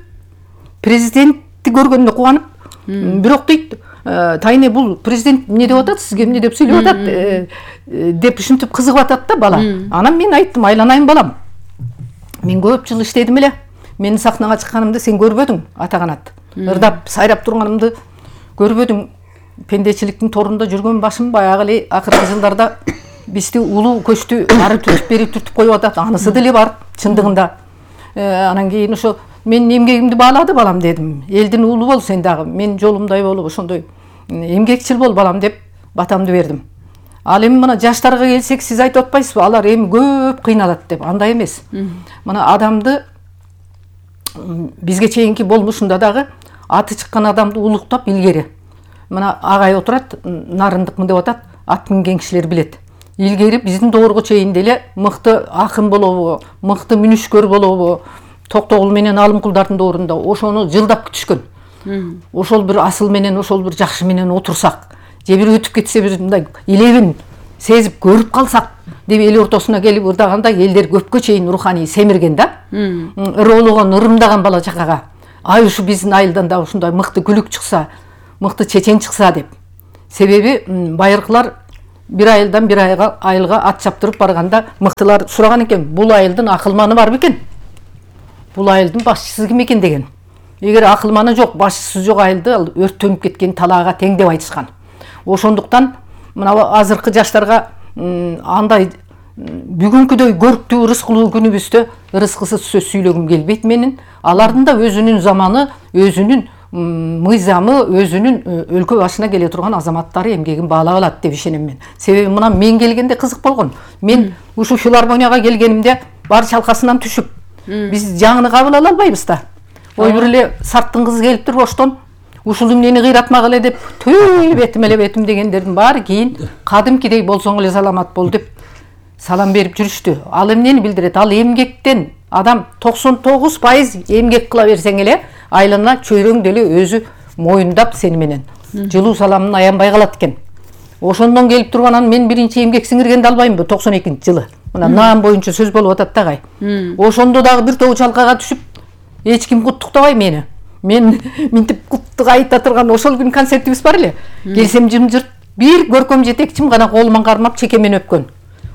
президентти көргөнүнө кубанып, бирок дейт, тайне бул президент эмне деп атат, сизге эмне деп сүйлөп атат деп ушинтип кызыгып атат да бала. Анан мен айттым, айланайын балам, мен көп жыл иштедим эле, менин сахнага чыкканымды сен көрбөдүң, ата канат ырдап сайрап турганымды көрбөдүң, пендечиликтин торунда жүргөн башым баягы эле акыркы жылдарда бизди улуу көчтү ары түртүп бери түртүп коюп атат, анысы деле бар чындыгында. Анан кийин ошо мен эмгегимди баалады балам дедим, элдин уулу бол сен дагы, мен жолумдай болуп ошондой эмгекчил бол балам деп батамды бердим. Ал эми мына жаштарга келсек, сиз айтып атпайсызбы, алар эми көп кыйналат деп? Андай эмес. Мына адамды бизге чейинки болмушунда дагы аты чыккан адамды улуктап илгери. Мына агай отурат, нарындыкмын деп атат, ат минген кишилер билет. Илгери биздин доорго чейин деле мыкты акын болобу, мыкты мүнүшкөр болобу, Токтогул менен Алымкулдардын доорунда ошону жылдап күтүшкөн. Ошол бир асыл менен, ошол бир жакшы менен отурсак, же бир өтүп кетсе бир мындай илебин сезип көрүп калсак деп эл ортосуна келип ырдаганда элдер көпкө чейин руханий семирген да. Ырологон, ырымдаган бала чакага. Ай ушу биздин айылдан да ушундай мыкты күлүк чыкса, мыкты чечен чыкса деп. Себеби байыркылар бир айылдан бир айылга ат чаптырып барганда мыктылар сураган экен, бул айылдын акылманы бар бекен? Бул айылдын башчысы ким экен деген. Эгер акылманы жок, башчысы жок айылды ал өрттөнүп кеткен талаага тең деп айтышкан. Ошондуктан мына азыркы жаштарга андай бүгүнкүдөй көрктүү ырыскылуу күнүбүздө ырыскысыз сөз сүйлөгүм келбейт менин. Алардын да өзүнүн заманы, өзүнүн мыйзамы, өзүнүн өлкө башына келе турган азаматтары эмгегин баалап алат деп ишенем мен. Себеби мына мен келгенде кызык болгон. Мен ушу филармонияга келгенимде бар чалкасынан түшүп, биз жаңыны кабыл ала албайбыз да. Ой бир эле сарттын кызы келиптир Оштон, ушул эмнени кыйратмак эле деп, түй бетим эле бетим дегендердин баары кийин кадимкидей болсоң эле саламат бол деп салам берип жүрүштү. Ал эмнени билдирет? Ал эмгектен адам 99% эмгек кыла берсең эле айлана чөйрөң деле өзү моюндап сени менен жылуу саламын аянбай калат экен. Ошондон келип турганан мен биринчи эмгек сиңиргенди албаймынбы 92-жылы. Мына наам боюнча сөз болуп атат да гай. Ошондо дагы бир тобу чалкага түшүп эч ким куттуктабай мени. Мен минтип куттук айта турган ошол күн концертибиз бар эле. Келсем жымжырт бир көркөм жетекчим гана колуман кармап чекемен өпкөн.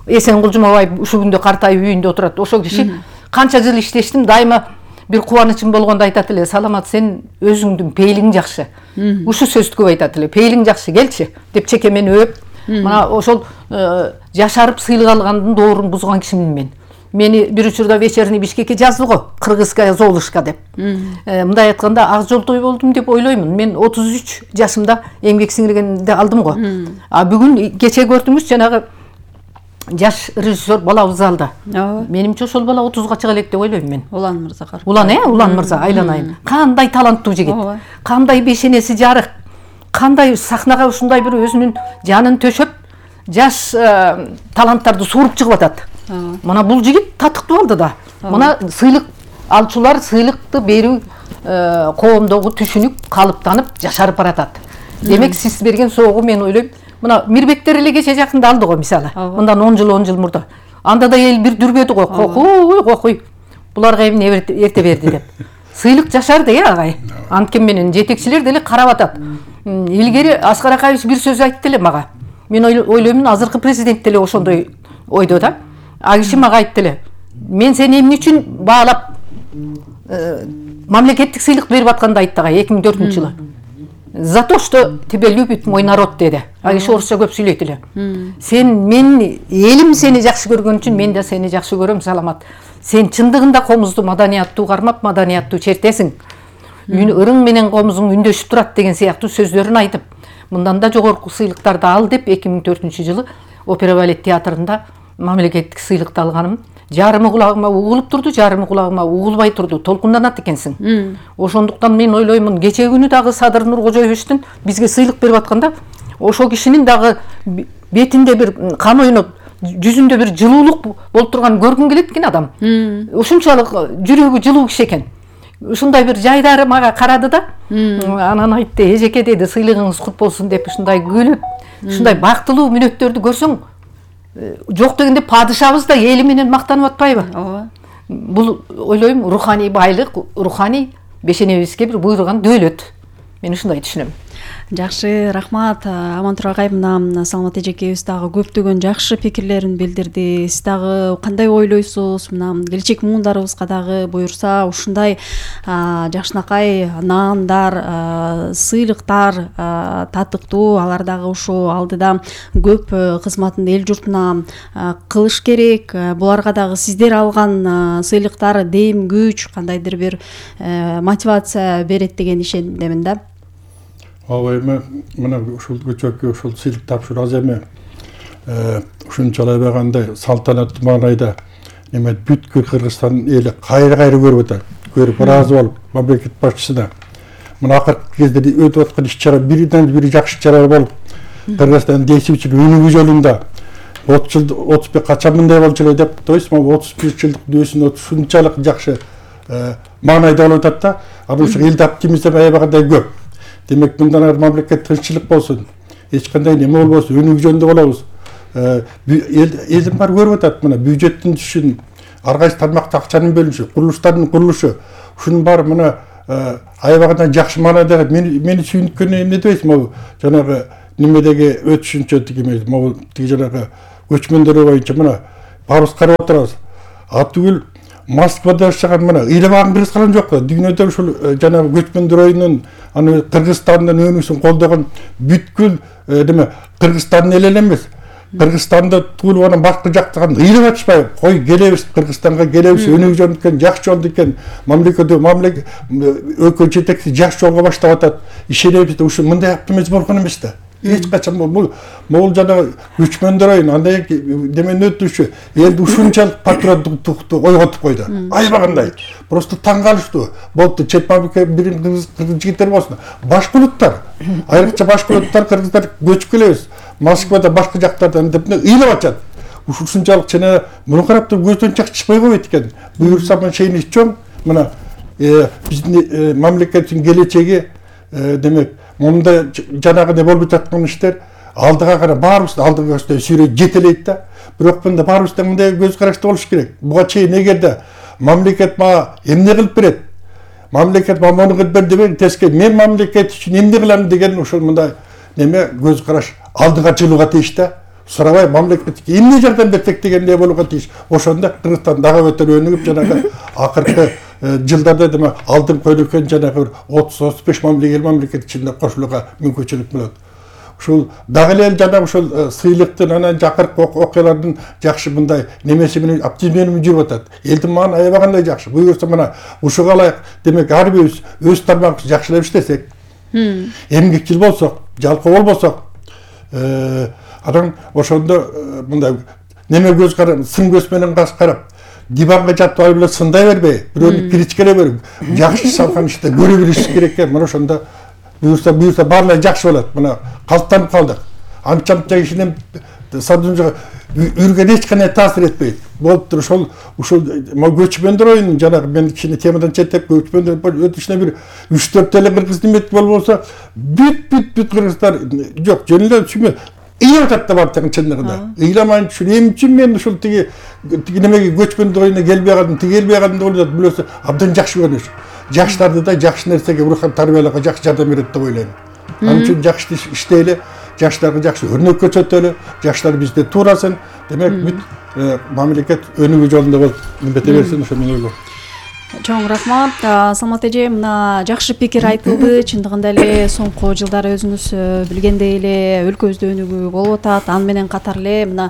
Эсенгул Жумабаев ушул күндө картайып үйүндө отурат. Ошол киши канча жыл иштештим, дайыма бир кубанычым болгондо айтат эле, саламат, сен өзүңдүн пейлиң жакшы. Ушу сөздү көп айтат эле, пейлиң жакшы, келчи деп чекемен өп. Мына ошол жашарып сыйлык алгандын доорун бузган кишимин мен. Мени бир учурда вечерний Бишкекке жазды го, кыргызская Золушка деп. Мындай айтканда ак жолтой болдум деп ойлоймун. Мен 33 жашымда эмгек сиңиргенди алдым го. А бүгүн кече көрдүңүз, жанагы жаш режиссер балабыз залда. Менимче ошол бала 30га чыга элек деп ойлойм мен. Улан мырза кар. Улан мырза, айланайын. Кандай таланттуу жигит. Кандай бешенеси жарык. Кандай сахнага ушундай бир өзүнүн жанын төшөп, жаш таланттарды сууруп чыгып атат. Мына бул жигит татыктуу алды да. Мына сыйлык алчулар сыйлыкты берүү коомдогу түшүнүк калыптанып жашарып баратат. Демек сиз берген соогу мен ойлойм, мына Мирбектер эле кече жакында алды го мисалы. Мындан 10 жыл мурда. Анда да эл бир дүрбөдү го, кокуй. Буларга эмне эрте берди деп. Сыйлык жашарды агай. Анткени менен жетекчилер деле карап атат. Илгери Аскар Акаевич бир сөз айтты эле мага. Мен ойлоймун, азыркы президент деле ошондой ойдо да. А киши мага айтты эле, мен сени эмне үчүн баалап мамлекеттик сыйлык берип атканды айтты агай 2004-жылы. За то, что тебя любит мой народ деди. А киши орусча көп сүйлөйт эле. Мен элим сени жакшы көргөн үчүн мен да сени жакшы көрөм, саламат. Сен чындыгында комузду маданияттуу кармап, маданияттуу чертесиң. Ырың менен комузуң үндөшүп турат деген сыяктуу сөздөрүн айтып, мындан да жогорку сыйлыктарды ал деп 2004-жылы Опера балет театрында мамлекеттик сыйлыкты алганым. Жарымы кулагыма угулуп турду, жарымы кулагыма угулбай турду. Толкунданат экенсиң. Ошондуктан мен ойлоймун, кече күнү дагы Садыр Нуркожоевичтин бизге сыйлык берип атканда, ошол кишинин дагы бетинде бир кан ойноп, жүзүндө бир жылуулук болуп турган көргүн келет экен адам. Ушунчалык жүрөгү жылуу киши экен. Ушундай бир жайдары мага карады да. Анан айтты, эжеке деди, сыйлыгыңыз кут болсун деп ушундай күлүп, ушундай бактылуу мүнөттөрдү көрсөң, жок дегенде падышабыз да эли менен мактанып атпайбы? Бул ойлойм, руханий байлык, руханий бешенебизге бир буйруган дөөлөт. Мен ушундай түшүнөм. Жакшы, рахмат. Амантур агай, мына Саламат эжекебиз дагы көптөгөн жакшы пикирлерин билдирди. Сиз дагы кандай ойлойсуз? Мына келечек муундарыбызга дагы буюрса ушундай жакшынакай наандар, сыйлыктар татыктуу, алар дагы ушу алдыда көп кызматын эл журтуна кылыш керек. Буларга дагы сиздер алган сыйлыктар дем, күч, кандайдыр бир мотивация берет деген ишендемин да. Ооба, эми мына ушул көчөккө ушул сыйлык тапшыруу аз эме. Ушунчалай байгандай салтанаттуу маанайда эме бүткүл Кыргызстан эли кайра көрүп атат. Көрүп ыраазы болуп, мамлекет башчысына мына акыркы кезде өтүп аткан иш-чара биринен бири жакшы иш-чара болуп, Кыргызстан десипчи өнүгүү жолунда 30 жыл 35 качан мындай болчу эле деп, то есть 35 жылдык дөөсүн ушунчалык жакшы маанайда болуп атат да. Анан ушу элди оптимизм аябагандай көп. Демек мындан ары мамлекет тынччылык болсун, эч кандай неме болбосун, өнүгүү жөнүндө болобуз. Элдин баары көрүп атат, мына бюджеттин түшүн, ар кайсы тармакта акчанын бөлүнүшү, курулуштардын курулушу, ушунун баары мына аябагандай жакшы маанайда. Мени сүйүнткөнү эмне дебейсиз, могу жанагы немедеги өтүшүнчө тиги жанагы көчмөндөр боюнча мына баарыбыз карап отурабыз. Түгүл Москвада жашаган мына ыйламаган кыргыз калган жок да. Дүйнөдө ушул жанагы көчмөндөр оюнун аны Кыргызстандын өнүгүүсүн колдогон бүткүл неме Кыргызстандын эли эле эмес. Кыргызстанда туулуп анан башка жактан ыйлап атышпай, кой келебиз Кыргызстанга келебиз, өнүгүү жолу экен, жакшы жолду экен, мамлекет өлкө жетекчиси жакшы жолго баштап атат. Ишенебиз, ушу мындай оптимизм болгон эмес да. Эч качан бул жанагы көчмөндөр оюн андай демени өтүшү элди ушунчалык патриоттукту ойготуп койду. Аябагандай. Просто таң калыштуу. Болду, чет мамлекет бирин кыргыз жигиттер болсун. Башка улуттар, айрыкча башка улуттар, кыргыздар көчүп келебиз. Москвада башка жактардан деп ыйлап атат. Ушунчалык чена муну карап туруп көздөн чакчышпай койбойт экен. Буюрса мен шейни чоң мына биздин мамлекеттин келечеги демек мында жанагы не болуп жаткан иштер алдыга карап баарыбыз алдыга сүйрөй жетелейт да. Бирок мында баарыбызда мындай көз карашты болуш керек. Буга чейин эгерде мамлекет мага эмне кылып берет, мамлекет мага муну кылып бер дебей, тескери мен мамлекет үчүн эмне кылам деген ушул мындай неме көз караш алдыга жылууга тийиш да. Сурабай мамлекетке эмне жардам берсек дегендей болууга тийиш. Ошондо Кыргызстан дагы өтө өнүгүп жанагы акыркы жылдарда деме алдын көйнөккөн жанагы 30-35 мамлекет ичинде кошулууга мүмкүнчүлүк болот. Ушул дагы эле жанагы ушул сыйлыктын анан жакыркы окуялардын жакшы мындай немеси менен оптимизм жүрүп атат. Элдин мааны аябагандай жакшы. Буюрса мына ушуга ылайык демек ар бирибиз өз тармагыбызды жакшылап иштесек, эмгекчил болсок, жалкоо болбосок, анан ошондо мындай неме көз карап, сын көз менен карап, диванга жатып алып эле сындай бербей, бирөөнү критикалай берип, жакшы салган ишти көрө билиш керек экен. Мына ошондо буюрса баарлары жакшы болот. Мына калыптанып калдык. Анча кишинин садымжага үргөн эч кандай таасир этпейт. Болуптур ушул көчмөндөр оюнун жанагы мен кичине темадан четтеп көчмөндөр өтүшүнө бир 3-4 эле кыргыз демет болбосо бүт кыргыздар жок, жөн эле түшүнбөй. Ыйлап атат да баардыгын чындыгында. Ыйламайын үчүн эмне үчүн мен ушул тиги немеге көчмөндөр оюнуна келбей калдым, келбей калдым деп ойлойт. Билесиз, абдан жакшы көрүнүш. Жаштарды да жакшы нерсеге урухан тарбиялоого жакшы жардам берет деп ойлойм. Ал үчүн жакшы иштейли, жаштарга жакшы өрнөк көрсөтөлү, жаштар бизде туурасын. Демек бүт мамлекет өнүгүү жолунда болуп милдете берсин, ошо мен ойлойм. Чоң рахмат. Саламат эже, мына жакшы пикир айтылды. Чындыгында эле соңку жылдары өзүңүз билгендей эле өлкөбүздө өнүгүү болуп атат. Аны менен катар эле мына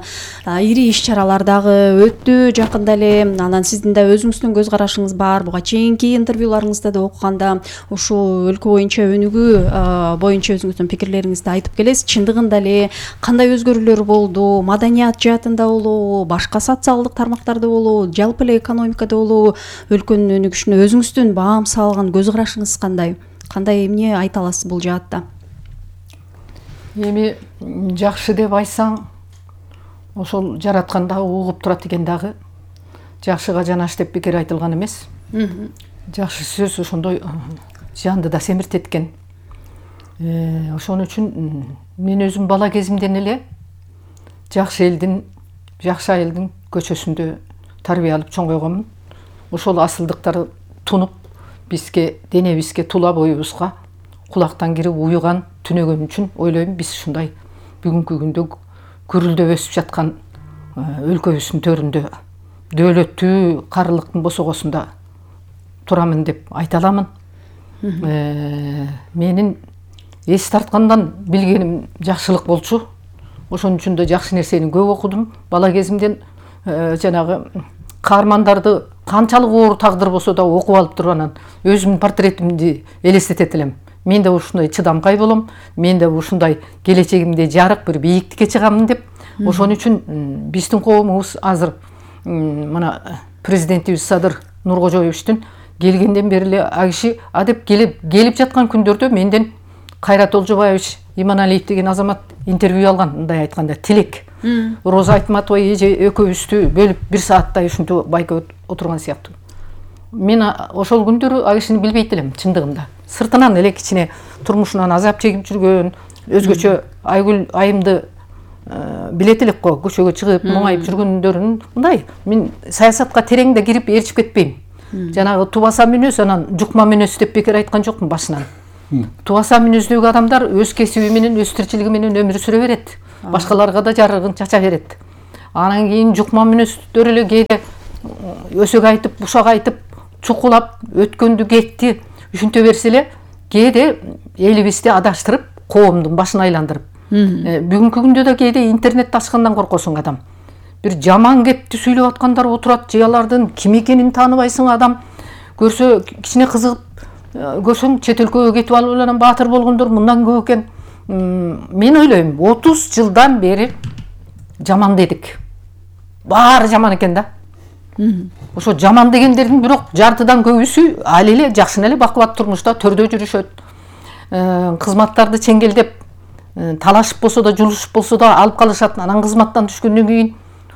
ири иш-чаралар дагы өттү жакында эле. Анан сиздин да өзүңүздүн көз карашыңыз бар. Буга чейинки интервьюларыңызда да окуганда ушул өлкө боюнча өнүгүү боюнча өзүңүздүн пикирлериңизди айтып келесиз. Чындыгында эле кандай өзгөрүүлөр болду? Маданият жаатында болобу, башка социалдык тармактарда болобу, жалпы эле экономикада болобу, өлкөнүн өнүгүшүнө өзүңүздүн баам салган көз карашыңыз кандай? Кандай эмне айта аласыз бул жаатта? Эми жакшы деп айтсаң, ошол жараткан дагы угуп турат экен дагы. Жакшыга жанаш деп пикир айтылган эмес. Жакшы сөз ошондой жанды да семиртет экен. Ошон үчүн мен өзүм бала кезимден эле жакшы элдин, жакшы айылдын көчөсүндө тарбия алып чоңойгонмун. Ошол асылдыктар тунуп бизге, денебизге, тула боюбузга кулактан кирип уюган түнөгөн үчүн ойлойм биз ушундай бүгүнкү күндө күрүлдөп өсүп жаткан өлкөбүздүн төрүндө дөөлөттүү карылыктын босогосунда турамын деп айта аламын. Менин эс тарткандан билгеним жакшылык болчу. Ошон үчүн да жакшы нерсени көп окудум. Бала кезимден жанагы каармандарды канчалык оор тагдыр болсо да окуп алып туруп анан өзүмдүн портретимди элестетет элем. Мен да ушундай чыдамкай болом, мен да ушундай келечегимде жарык бир бийиктикке чыгамын деп. Ошон үчүн биздин коомубуз азыр мына президентибиз Садыр Нуркожоевичтин келгенден бери эле а киши деп келип жаткан күндөрдө менден Кайрат Олжобаевич Иманалиев деген азамат интервью алган, мындай айтканда тилек. Роза Айтматова эже экөөбүздү бөлүп 1 сааттай ушинтип байка отурган сыяктуу. Мен ошол күндөрү а кишини билбейт элем чындыгында. Сыртынан эле кичине турмушунан азап чегип жүргөн, өзгөчө Айгүл айымды билет элек го, көчөгө чыгып моңайып жүргөндөрүн мындай. Мен саясатка терең да кирип ээрчип кетпейм. Жанагы тубаса мүнөз, анан жукма мүнөз деп бекер айткан жокмун башынан. Тубаса мүнөздөгү адамдар өз кесиби менен, өз тиричилиги менен өмүр сүрө берет. Башкаларга да жарыгын чача берет. Анан кийин жукма мүнөздөр эле кээде өсөк айтып, бушак айтып, чукулап өткөндү кетти, ушинте берсе эле кээде элибизди адаштырып, коомдун башын айландырып. Бүгүнкү күндө да кээде интернетти ачкандан коркосуң адам. Бир жаман кепти сүйлөп аткандар отурат, же алардын ким экенин тааныбайсың адам. Көрсө кичине кызыгып көрсөң чет өлкөгө кетип алып анан баатыр болгондор мындан көп экен. Мен ойлойм 30 жылдан бери жаман дедик. Баары жаман экен да. Ошо жаман дегендердин бирок жартыдан көбүсү али эле жакшы эле бакубат турмушта төрдө жүрүшөт. Кызматтарды чеңгелдеп талашып болсо да, жулушуп болсо да алып калышат. Анан кызматтан түшкөндөн кийин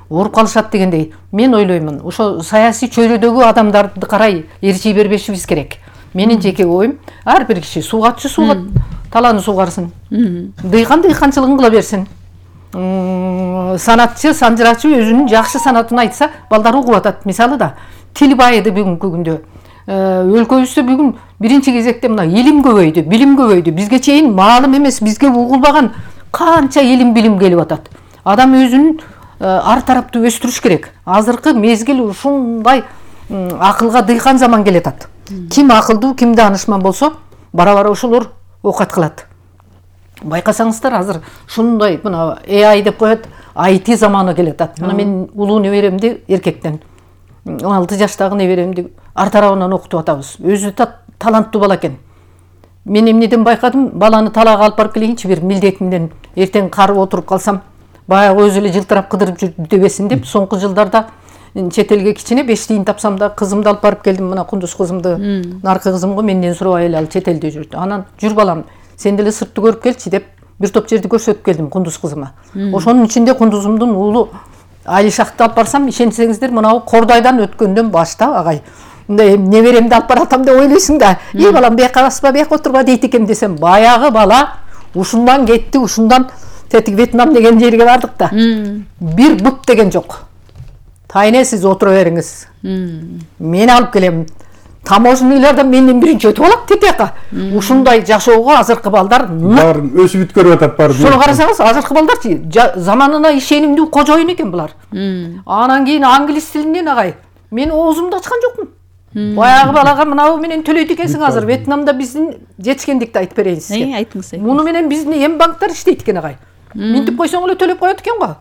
ооруп калышат дегендей. Мен ойлоймун, ошо саясий чөйрөдөгү адамдарды карай ээрчий бербешибиз керек. Менин жеке оюм, ар бир киши суугатчы суугат, талааны суугарсын. Дыйкан дыйканчылыгын кыла берсин. Санатчы, санжырачы өзүнүн жакшы санатын айтса, балдар угуп атат. Мисалы да тил байыды бүгүнкү күндө. Өлкөбүздө бүгүн биринчи кезекте мына илим көбөйдү, билим көбөйдү. Бизге чейин маалым эмес, бизге угулбаган канча илим билим келип атат. Адам өзүнүн ар тараптуу өстүрүш керек. Азыркы мезгил ушундай акылга дыйкан заман келатат. Ким акылдуу, ким даанышман болсо, бара-бара ошолор окат кылат. Байкасаңыздар, азыр ушундай мына AI деп коет, IT заманы келатат. Мына мен улуу неберемди эркектен 16 жаштагы неберемди ар тарабынан окутуп атабыз. Өзү таланттуу бала экен. Мен эмнеден байкадым, баланы талаага алып барып келейинчи бир милдетимден, эртең карып отуруп калсам, баягы өзү эле жылтырап кыдырып жүрүп дебесин деп, соңку жылдарда чет элге кичине 5 тиын тапсам да кызымды алып барып келдим. Мына Кундуз кызымды, наркы кызымго менден сурабай эле ал чет элде жүрдү. Анан жүр балам, сен деле сыртты көрүп келчи деп бир топ жерди көрсөтүп келдим Кундуз кызыма. Ошонун ичинде Кундузумдун уулу Алишакты алып барсам, ишенсеңиздер, мынау Кордайдан өткөндөн башта агай. Мындай неберемди алып баратам деп ойлойсуң да, балам бияка баспа, бияка отурба дейт экен десем, баягы бала ушундан кетти, ушундан тетик Вьетнам деген жерге бардык да. Бир бут деген жок. Тайне сиз отура бериңиз. Мен алып келем. Таможенныйлардан менден биринчи өтүп алат тетияка. Ушундай жашоого азыркы балдар баарын өсүп бүткөрүп атат баары. Шуну карасаңыз, азыркы балдарчы заманына ишенимдүү кожоюн экен булар. Анан кийин англис тилинен агай. Мен оозумду ачкан жокмун. Баягы балага мынау менен төлөйт экенсиң азыр. Вьетнамда биздин жетишкендикти айтып берейин сизге. Айтыңыз. Муну менен биздин эм банктар иштейт экен агай. Минтип койсоң эле төлөп коет экен го.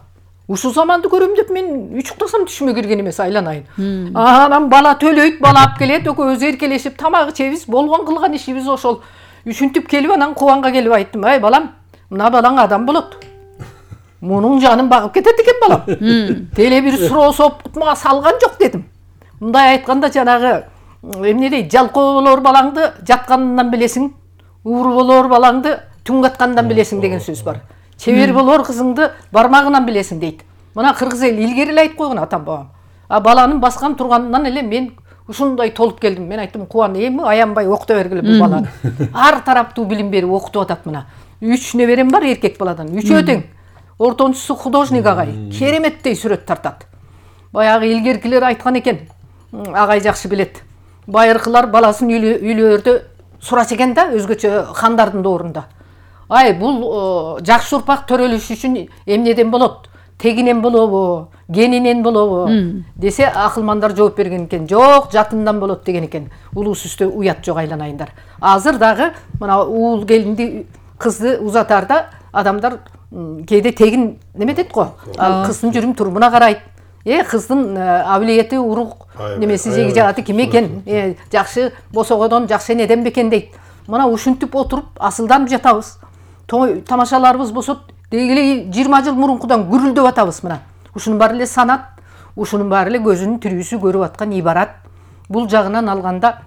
Ушул заманды көрөм деп мен үчүктасам түшүмө кирген эмес, айланайын. Анан бала төлөйт, бала алып келет, экөөбүз эркелешип тамак ичебиз, болгон кылган ишибиз ошол. Үшүнтүп келип анан Кубанга келип айттым, "Ай балам, мына балаң адам болот. Мунун жанын багып кетет экен балам. Деле бир суроо соп мага салган жок" дедим. Мындай айтканда жанагы эмне дейт, жалкоо болор балаңды жатканынан билесиң, ууру болор балаңды түн каткандан билесиң деген сөз бар. Чебер болор кызыңды бармагынан билесиң дейт. Мына кыргыз эл илгери эле айтып койгон атам бабам. Баланын баскан турганынан эле мен ушундай толуп келдим. Мен айттым, "Кубан, эми аянбай окута бергиле бул баланы. Ар тараптуу билим берип окутуп атат мына. 3 неберем бар эркек баладан. 3 тең. Ортончусу художник агай. Кереметтей сүрөт тартат. Баягы илгеркилер айткан экен. Агай жакшы билет. Байыркылар баласын үйлөрдө сурачу экен да, өзгөчө хандардын доорунда. Ай, бул жакшы урпак төрөлүш үчүн эмнеден болот? Тегинен болобу, генинен болобу десе, акылмандар жооп берген экен. Жок, жатындан болот деген экен. Улуус үстө уят жок, айланайындар. Азыр дагы мына уул келинди, кызды узатарда адамдар кээде тегин неме дейт го. Ал кыздын жүрүм турумуна карайт. Кыздын абилети, урук немеси, жеги жагаты ким экен? Жакшы босогодон жакшы энеден бекен дейт. Мына ушинтип отуруп асылданып жатабыз. Той тамашаларыбыз болсо дегеле 20 жыл мурункудан гүрүлдөп атабыз мына. Ушунун баары эле санат, ушунун баары эле көзүнүн тирүүсү көрүп аткан ибарат. Бул жагынан алганда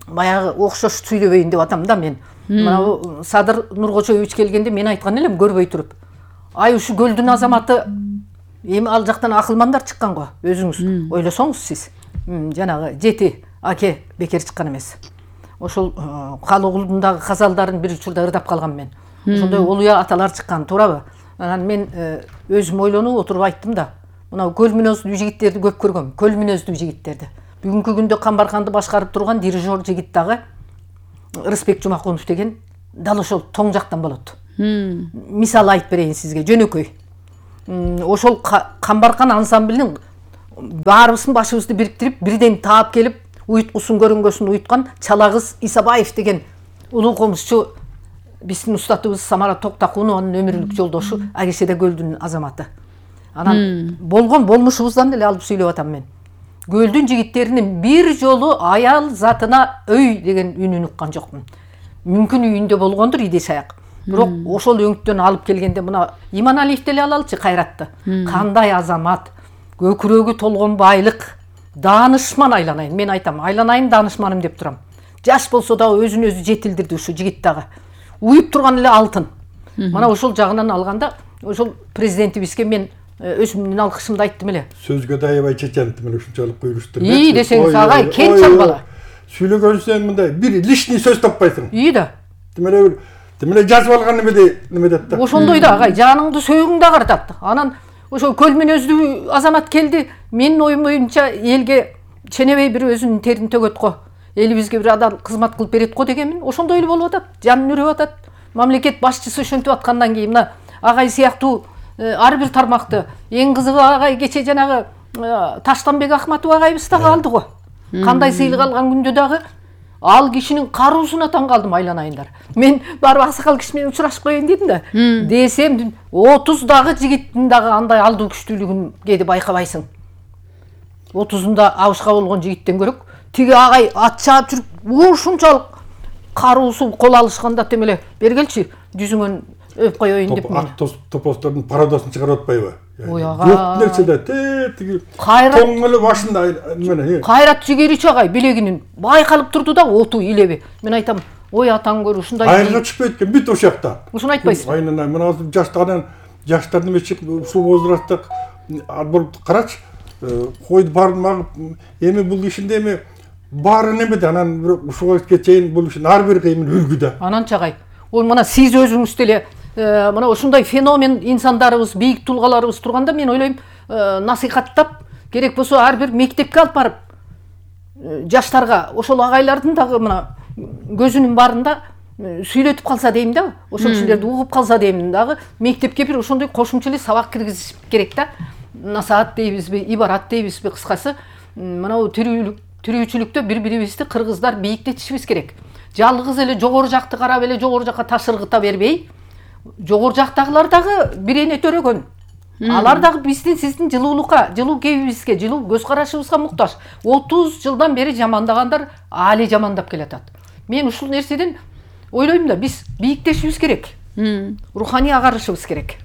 баягы окшош сүйлөбөйүн деп атам да мен. Мына Садыр Нуркочоевич келгенде мен айткан элем көрбөй туруп. Ай, ушу көлдүн азаматы эми ал жактан акылмандар чыккан го. Өзүңүз ойлосоңуз сиз. Жанагы жети аке бекер чыккан эмес. Ошол Калыгулдундагы казалдарын бир учурда ырдап калгам мен. Ошондой олуя аталар чыккан, туурабы? Анан мен өзүм ойлонуп отуруп айттым да. Мына көл мүнөздүү жигиттерди көп көргөм, көл мүнөздүү жигиттерди. Бүгүнкү күндө Камбарканды башкарып турган дирижер жигит дагы Рысбек Жумакунов деген дал ошол тоң жактан болот. Мисал айтып берейин сизге, жөнөкөй. Ошол Камбаркан ансамблинин баарыбыздын башыбызды бириктирип, бирден таап келип, уйткусун көрүнгөсүн уйткан Чалагыз Исабаев деген улуу комузчу биздин устатыбыз Самара Токтакунованын өмүрлүк жолдошу, Агешеде көлдүн азаматы. Анан болгон болмушубуздан эле алып сүйлөп атам мен. Көлдүн жигиттеринин бир жолу аял затына өй деген үнүн уккан жокмун. Мүмкүн үйүндө болгондур идеш аяк. Бирок ошол өңүттөн алып келгенде мына Иманалиевди эле алалычы, Кайратты. Кандай азамат, көкүрөгү толгон байлык, даанышман айланайын. Мен айтам, айланайын даанышманым деп турам. Жаш болсо да өзүн өзү жетилдирди ушу жигит дагы. Уюп турган эле алтын. Мана ошол жагынан алганда, ошол президентибизге мен өзүмдүн алкышымды айттым эле. Сөзгө да аябай чечентим эле ушунчалык буйруштур. Десеңиз агай, кен чалбала. Сүйлөгөнсөң мындай бир лишний сөз таппайсың. Да. Демеле жазып алган неме дейт да. Ошондой да агай, жаныңды сөөгүң да картат. Анан ошол көл мүнөздүү азамат келди. Менин оюм боюнча элге ченебей бир өзүнүн терин төгөт го. Элибизге бир адал кызмат кылып берет го дегенмин. Ошондой эле болуп атат. Жанын үрүп атат. Мамлекет башчысы ошентип аткандан кийин мына агай сыяктуу ар бир тармакты, эң кызыгы агай кече жанагы Таштанбек Ахматов агайыбыз дагы алды го. Кандай сыйлык алган күндө дагы ал кишинин кароосуна таң калдым, айланайындар. Мен барып аксакал киши менен учурашып коеюн дедим да. Десем 30 дагы жигиттин дагы андай алдуу күчтүүлүгүн кээде байкабайсың. 30-унда абышка болгон жигиттен көрөк, тиги агай ат чаап жүрүп, ушунчалык кароосу кол алышканда темеле бергелчи жүзүңөн өп коеюн деп мен. Ак топостордун пародосын чыгарып атпайбы? Ой ага. Жок нерседе тиги тоң эле башында эмне. Кайрат жигерич агай билегинин байкалып турду да, оту илеби. Мен айтам, ой атаң көр ушундай. Айырга түшпөйт экен бүт ошол жакта. Ушуну айтпайсызбы? Айнан мына азыр жаштардын мечи ушул возрастта болуп карачы. Койду бармагып, эми бул ишинде эми баары немеде, анан ушуга чейин бул ишин ар бир кыймын үлгүдө. Анан чагай. Ой мына сиз өзүңүз деле мына ушундай феномен инсандарыбыз, бийик тулгаларыбыз турганда мен ойлойм, насыйхаттап, керек болсо ар бир мектепке алып барып жаштарга ошол агайлардын дагы мына көзүнүн барында сүйлөтүп калса дейм да, ошол кишилерди угуп калса дейм дагы, мектепке бир ошондой кошумча эле сабак киргизиш керек да. Насаат дейбизби, ибарат дейбизби, кыскасы мына тирүүчүлүктө бири-бирибизди кыргыздар бийиктетишибиз керек. Жалгыз эле жогору жакты карап эле жогору жакка ташыргыта бербей, жогору жактагылар дагы бирене төрөгөн. Алар дагы биздин сиздин жылуулукка, жылуу кебибизге, жылуу көз карашыбызга муктаж. 30 жылдан бери жамандагандар али жамандап келатат. Мен ушул нерседен ойлойм да, биз бийиктешибиз керек. Руханий агарышыбыз керек.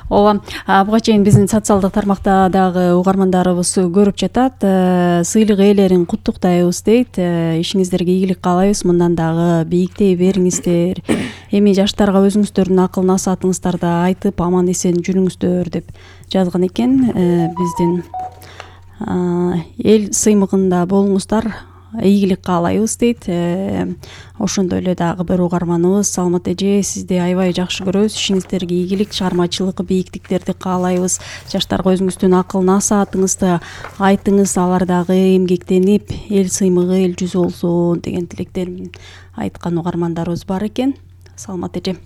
Ооба, буга чейин биздин социалдык тармакта дагы угармандарыбыз көрүп жатат. Сыйлык ээлерин куттуктайбыз дейт. Ишиңиздерге ийгилик каалайбыз. Мындан дагы бийиктей бериңиздер. Эми жаштарга өзүңүздөрдүн акыл насаатыңыздарды айтып, аман эсен жүрүңүздөр деп жазган экен. Биздин эл сыймыгында болуңуздар. ийгилик каалайбыз дейт. Ошондой эле дагы бир угарманыбыз Саламат эже, сизди аябай жакшы көрөбүз. Ишиңиздерге ийгилик, чыгармачылык бийиктиктерди каалайбыз. Жаштарга өзүңүздүн акыл насаатыңызды айтыңыз, алар дагы эмгектенип, эл сыймыгы, эл жүзү болсун деген тилектерин айткан угармандарыбыз бар экен. Саламат эже,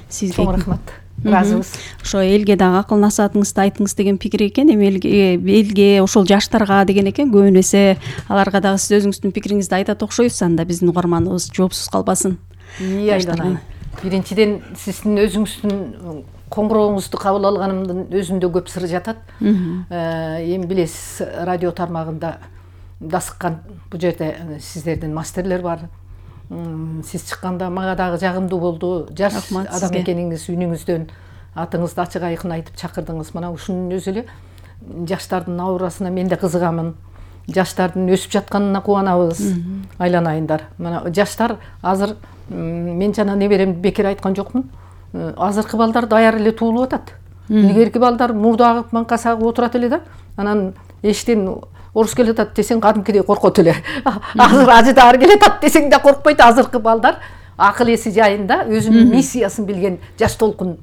сизге чоң рахмат. Ыраазыбыз. Ошо элге дагы акыл насаатыңызды айтыңыз деген пикир экен. Эми элге ошол жаштарга деген экен. Көбүн эсе аларга дагы сиз өзүңүздүн пикириңизди айтат окшойсуз. Анда биздин угарманыбыз жоопсуз калбасын. Айдана. Биринчиден сиздин өзүңүздүн коңгурооңузду кабыл алганымдын өзүндө көп сыр жатат. Эми билесиз, радио тармагында дасыккан бул жерде сиздердин мастерлер бар. Сиз чыкканда мага дагы жагымдуу болду. Жаш адам экениңиз, үнүңүздөн атыңызды ачык айкын айтып чакырдыңыз. Мына ушунун өзү эле жаштардын аурасына мен да кызыгамын. Жаштардын өсүп жатканына кубанабыз. Айланайындар. Мына жаштар азыр, мен жана неберемди бекер айткан жокмун. Азыркы балдар даяр эле туулуп атат. Илгерки балдар мурду агып, манкасы агып отурат эле да. Анан эштен орус келе атат десең кадимкидей коркот эле. Азыр ажыдаар келе атат десең да коркпойт. Азыркы балдар акыл эси жайында өзүнүн миссиясын билген жаш толкун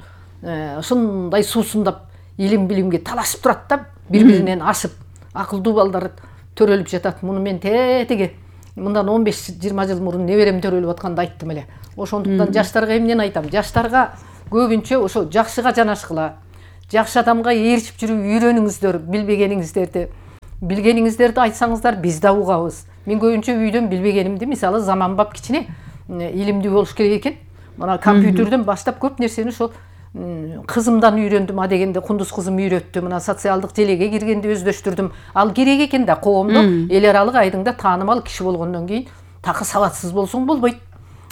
ушундай суусундап илим билимге талашып турат да, бири-биринен ашып. Акылдуу балдар төрөлүп жатат. Муну мен тетиги мындан 15-20 жыл мурун неберем төрөлүп атканда айттым эле. Ошондуктан жаштарга эмнени айтам? Жаштарга көбүнчө ошо жакшыга жанашкыла, жакшы адамга ээрчип жүрүп үйрөнүңүздөр, билгениңиздерди айтсаңыздар биз да угабыз. Мен көбүнчө үйдөн билбегенимди, мисалы заманбап кичине илимдүү болуш керек экен. Мына компьютерден баштап көп нерсени ошол кызымдан үйрөндүм. А дегенде кундуз кызым үйрөттү. Мына социалдык желеге киргенде өздөштүрдүм. Ал керек экен да, коомдо эл аралык айдыңда таанымал киши болгондон кийин такы сабатсыз болсоң болбойт.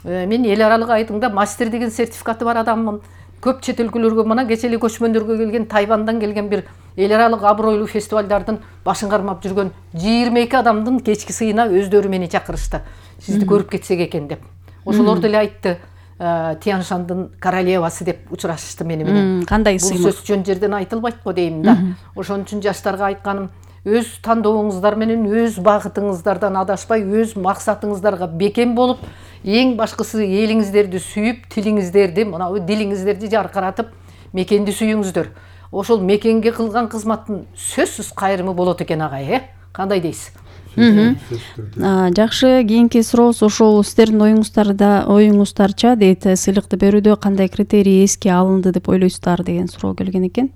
Мен эл аралык айдыңда мастер деген сертификаты бар адаммын. Көп чет өлкөлөргө, мына кече эле көчмөндөргө келген, Тайвандан келген бир эл аралык абройлуу фестивалдардын башын кармап жүргөн 22 адамдын кечки сыйына өздөрү мени чакырышты. Сизди көрүп кетсек экен деп. Ошолор деле айтты. Тяншандын королевасы деп учурашышты мени менен. Кандай сыймык? Бул сөз жөн жерден айтылбайт го дейм да. Ошон үчүн жаштарга айтканым, өз тандоолуңуздар менен, өз багытыңыздардан адашпай, өз максатыңыздарга бекем болуп, эң башкысы элиңиздерди сүйүп, тилиңиздерди, мына дилиңиздерди жаркыратып, мекенди сүйүңүздөр. Ошол мекенге кылган кызматтын сөзсүз кайрымы болот экен агай, Кандай дейсиз? Жакшы, кийинки сурообуз ошол сиздердин оюңуздарча дейт, сыйлыкты берүүдө кандай критерий эске алынды деп ойлойсуздар деген суроо келген экен.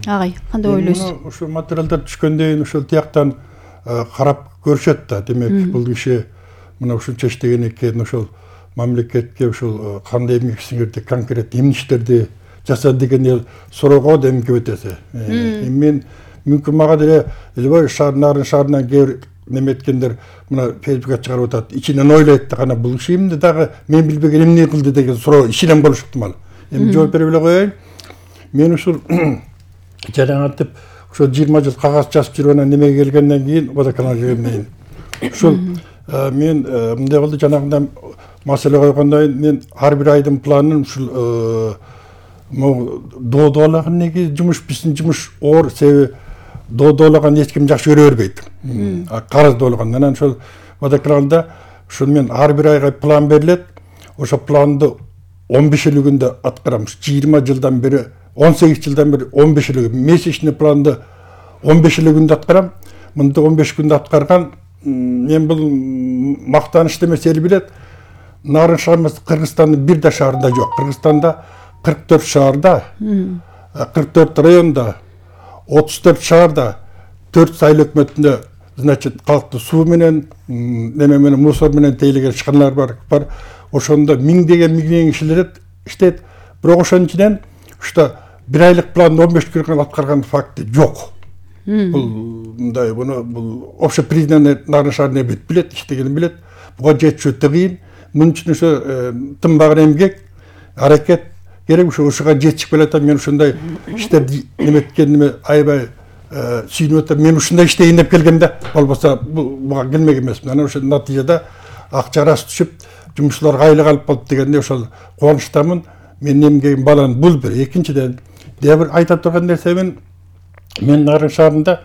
Агай, кандай ойлойсуз? Ошо материалдар түшкөндөн кийин ошол тияктан карап көрүшөт да. Демек, бул киши мына ушунча иштеген экен, ошол мамлекетке ошол кандай эмгек сиңирди, конкрет эмне иштерди жасады деген суроого да эмгек өтөсү. Мен мүмкүн мага деле Элбай нарын шаарынан кээ неметкендер мына Фейсбукка чыгарып атат, ичинен ойлойт да, кана бул киши эмне дагы мен билбеген эмне кылды деген суроо ичинен болушу ыктымал. Эми жооп бере эле коеюн. Мен ушул жараңатып ошо 20 жыл кагаз жазып жүрүп анан немеге келгенден кийин, водоканалга келгенден кийин ушул мен мындай болду, жанагындан маселе койгондон кийин мен ар бир айдын планын ушул доодолаган неге жумуш, биздин жумуш оор, себеби доодолаган эч ким жакшы көрө бербейт. Карыз доологон. Анан ошол водоканалда ушул мен ар бир айга план берилет. Ошо планды 15-өлүгүндө аткарам. 20 жылдан бери, 18 жылдан бери 15-өлүгү. Месячный планды 15-өлүгүндө аткарам. Мында 15 күндө аткарган, мен бул мактаныш эмес, эл билет. Нарын шаарыбыз Кыргызстандын бир да шаарында жок. Кыргызстанда 44 шаарда, 44 районда, 34 шаарда, 4 сайыл өкмөтүндө, значит, калкты суу менен, неме менен, мусор менен тейлеген ишканалар бар. Ошондо миңдеген кишилер иштейт. Бирок ошонун ичинен ушта бир айлык планды 15 күнгө аткарган факты жок. Бул мындай, бул общий признанный Нарын шаарында билет, иштегенин билет. Буга жетиши өтө кыйын. Мунун үчүн ошо тынбаган эмгек, аракет керек. Ушуга жетишип келатам. Мен ушундай иштерди неметкениме аябай сүйүнүп атам. Мен ушундай иштейин деп келгем да, болбосо буга келмек эмесмин. Анан ошол натыйжада акча арасы түшүп, жумушчуларга айлык алып болуп дегенде ошол кубанычтамын. Мен эмгегим баланын бул бир. Экинчиден, дагы бир айта турган нерсе, мен Нарын шаарында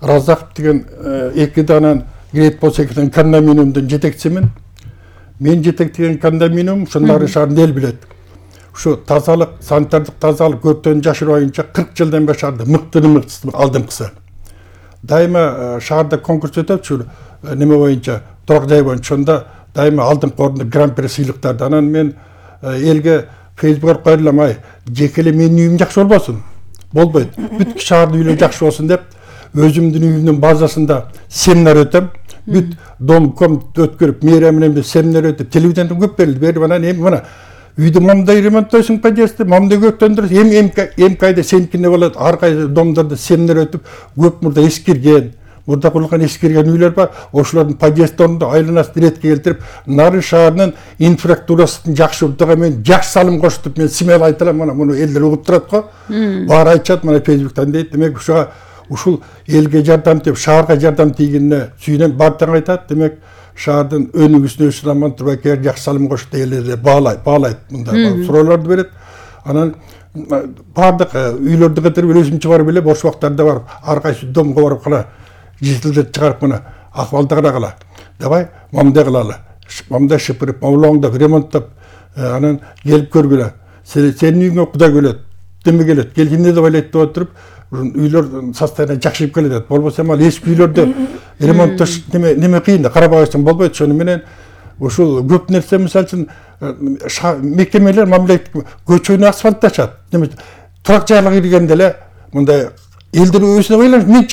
Разаков деген эки данан Great болсо деген кондоминиумдун жетекчисимин. Мен жетектеген кондоминиум ушул Нарын шаарында эл билет. Ушу тазалык, санитардык тазалык өрттөн жашырбайынча 40 жылдан бери шаарда мыктысы алдыңкысы. Дайыма шаарда конкурс өтөчү неме боюнча, турак жай боюнча, ошондо дайыма алдыңкы орунда гран-при сыйлыктарды. Анан мен элге Фейсбук койламай, жекеле менин үйүм жакшы болбосун. Болбойт. Бүт шаардын үйлөрү жакшы болсун деп, өзүмдүн үйүмдүн базасында семинар өтөм. Бүт дом-ком өткөрүп, мэрия менен семинар өтүп, телевиденияден көп берилди. Берип анан эми мына үйдү момундай ремонттойсуң подъездди, момундай көктөндүрөсүң, эми кайда сеникине болот, ар кайда домдордо семинар өтүп, көп мурда эскирген, мурда курулган эскирген үйлөр бар. Ошолордун подъезддеринде айланасын иретке келтирип, Нарын шаарынын инфраструктурасын жакшыртууга мен жакшы салым коштуп, мен смело айта алам, мына муну элдер угуп турат го. Баары айтышат, мына Фейсбуктан дейт. Демек ушул элге жардам деп, шаарга жардам тийгенине сүйүнөм, баардыгы айтат. Демек шаардын өнүгүүсүнө Раман Турбакер жакшы салым кошту, элдер баалайт, мындай суроолорду берет. Анан баардык үйлөрдү кытырып өзүм чыгарып эле, бош убактарда барып, ар кайсы домго барып кала, жетилдерди чыгарып мына акыбалды карагыла. Давай момундай кылалы. Момундай шыпырып, моулоңдоп, ремонттоп, анан келип көргүлө. Сенин үйүңө Кудай келет, деме келет, келгенде деп ойлойт деп отуруп, үйлөр состояние жакшырып келет. Болбосо ал эски үйлөрдө ремонттош неме кыйын да, карабайсың болбойт. Ошону менен ушул көп нерсе, мисалы үчүн мекемелер мамлекеттик көчөнү асфальтташат. Турак жайларга киргенде эле мындай элдер өзүнө ойлонуп, мен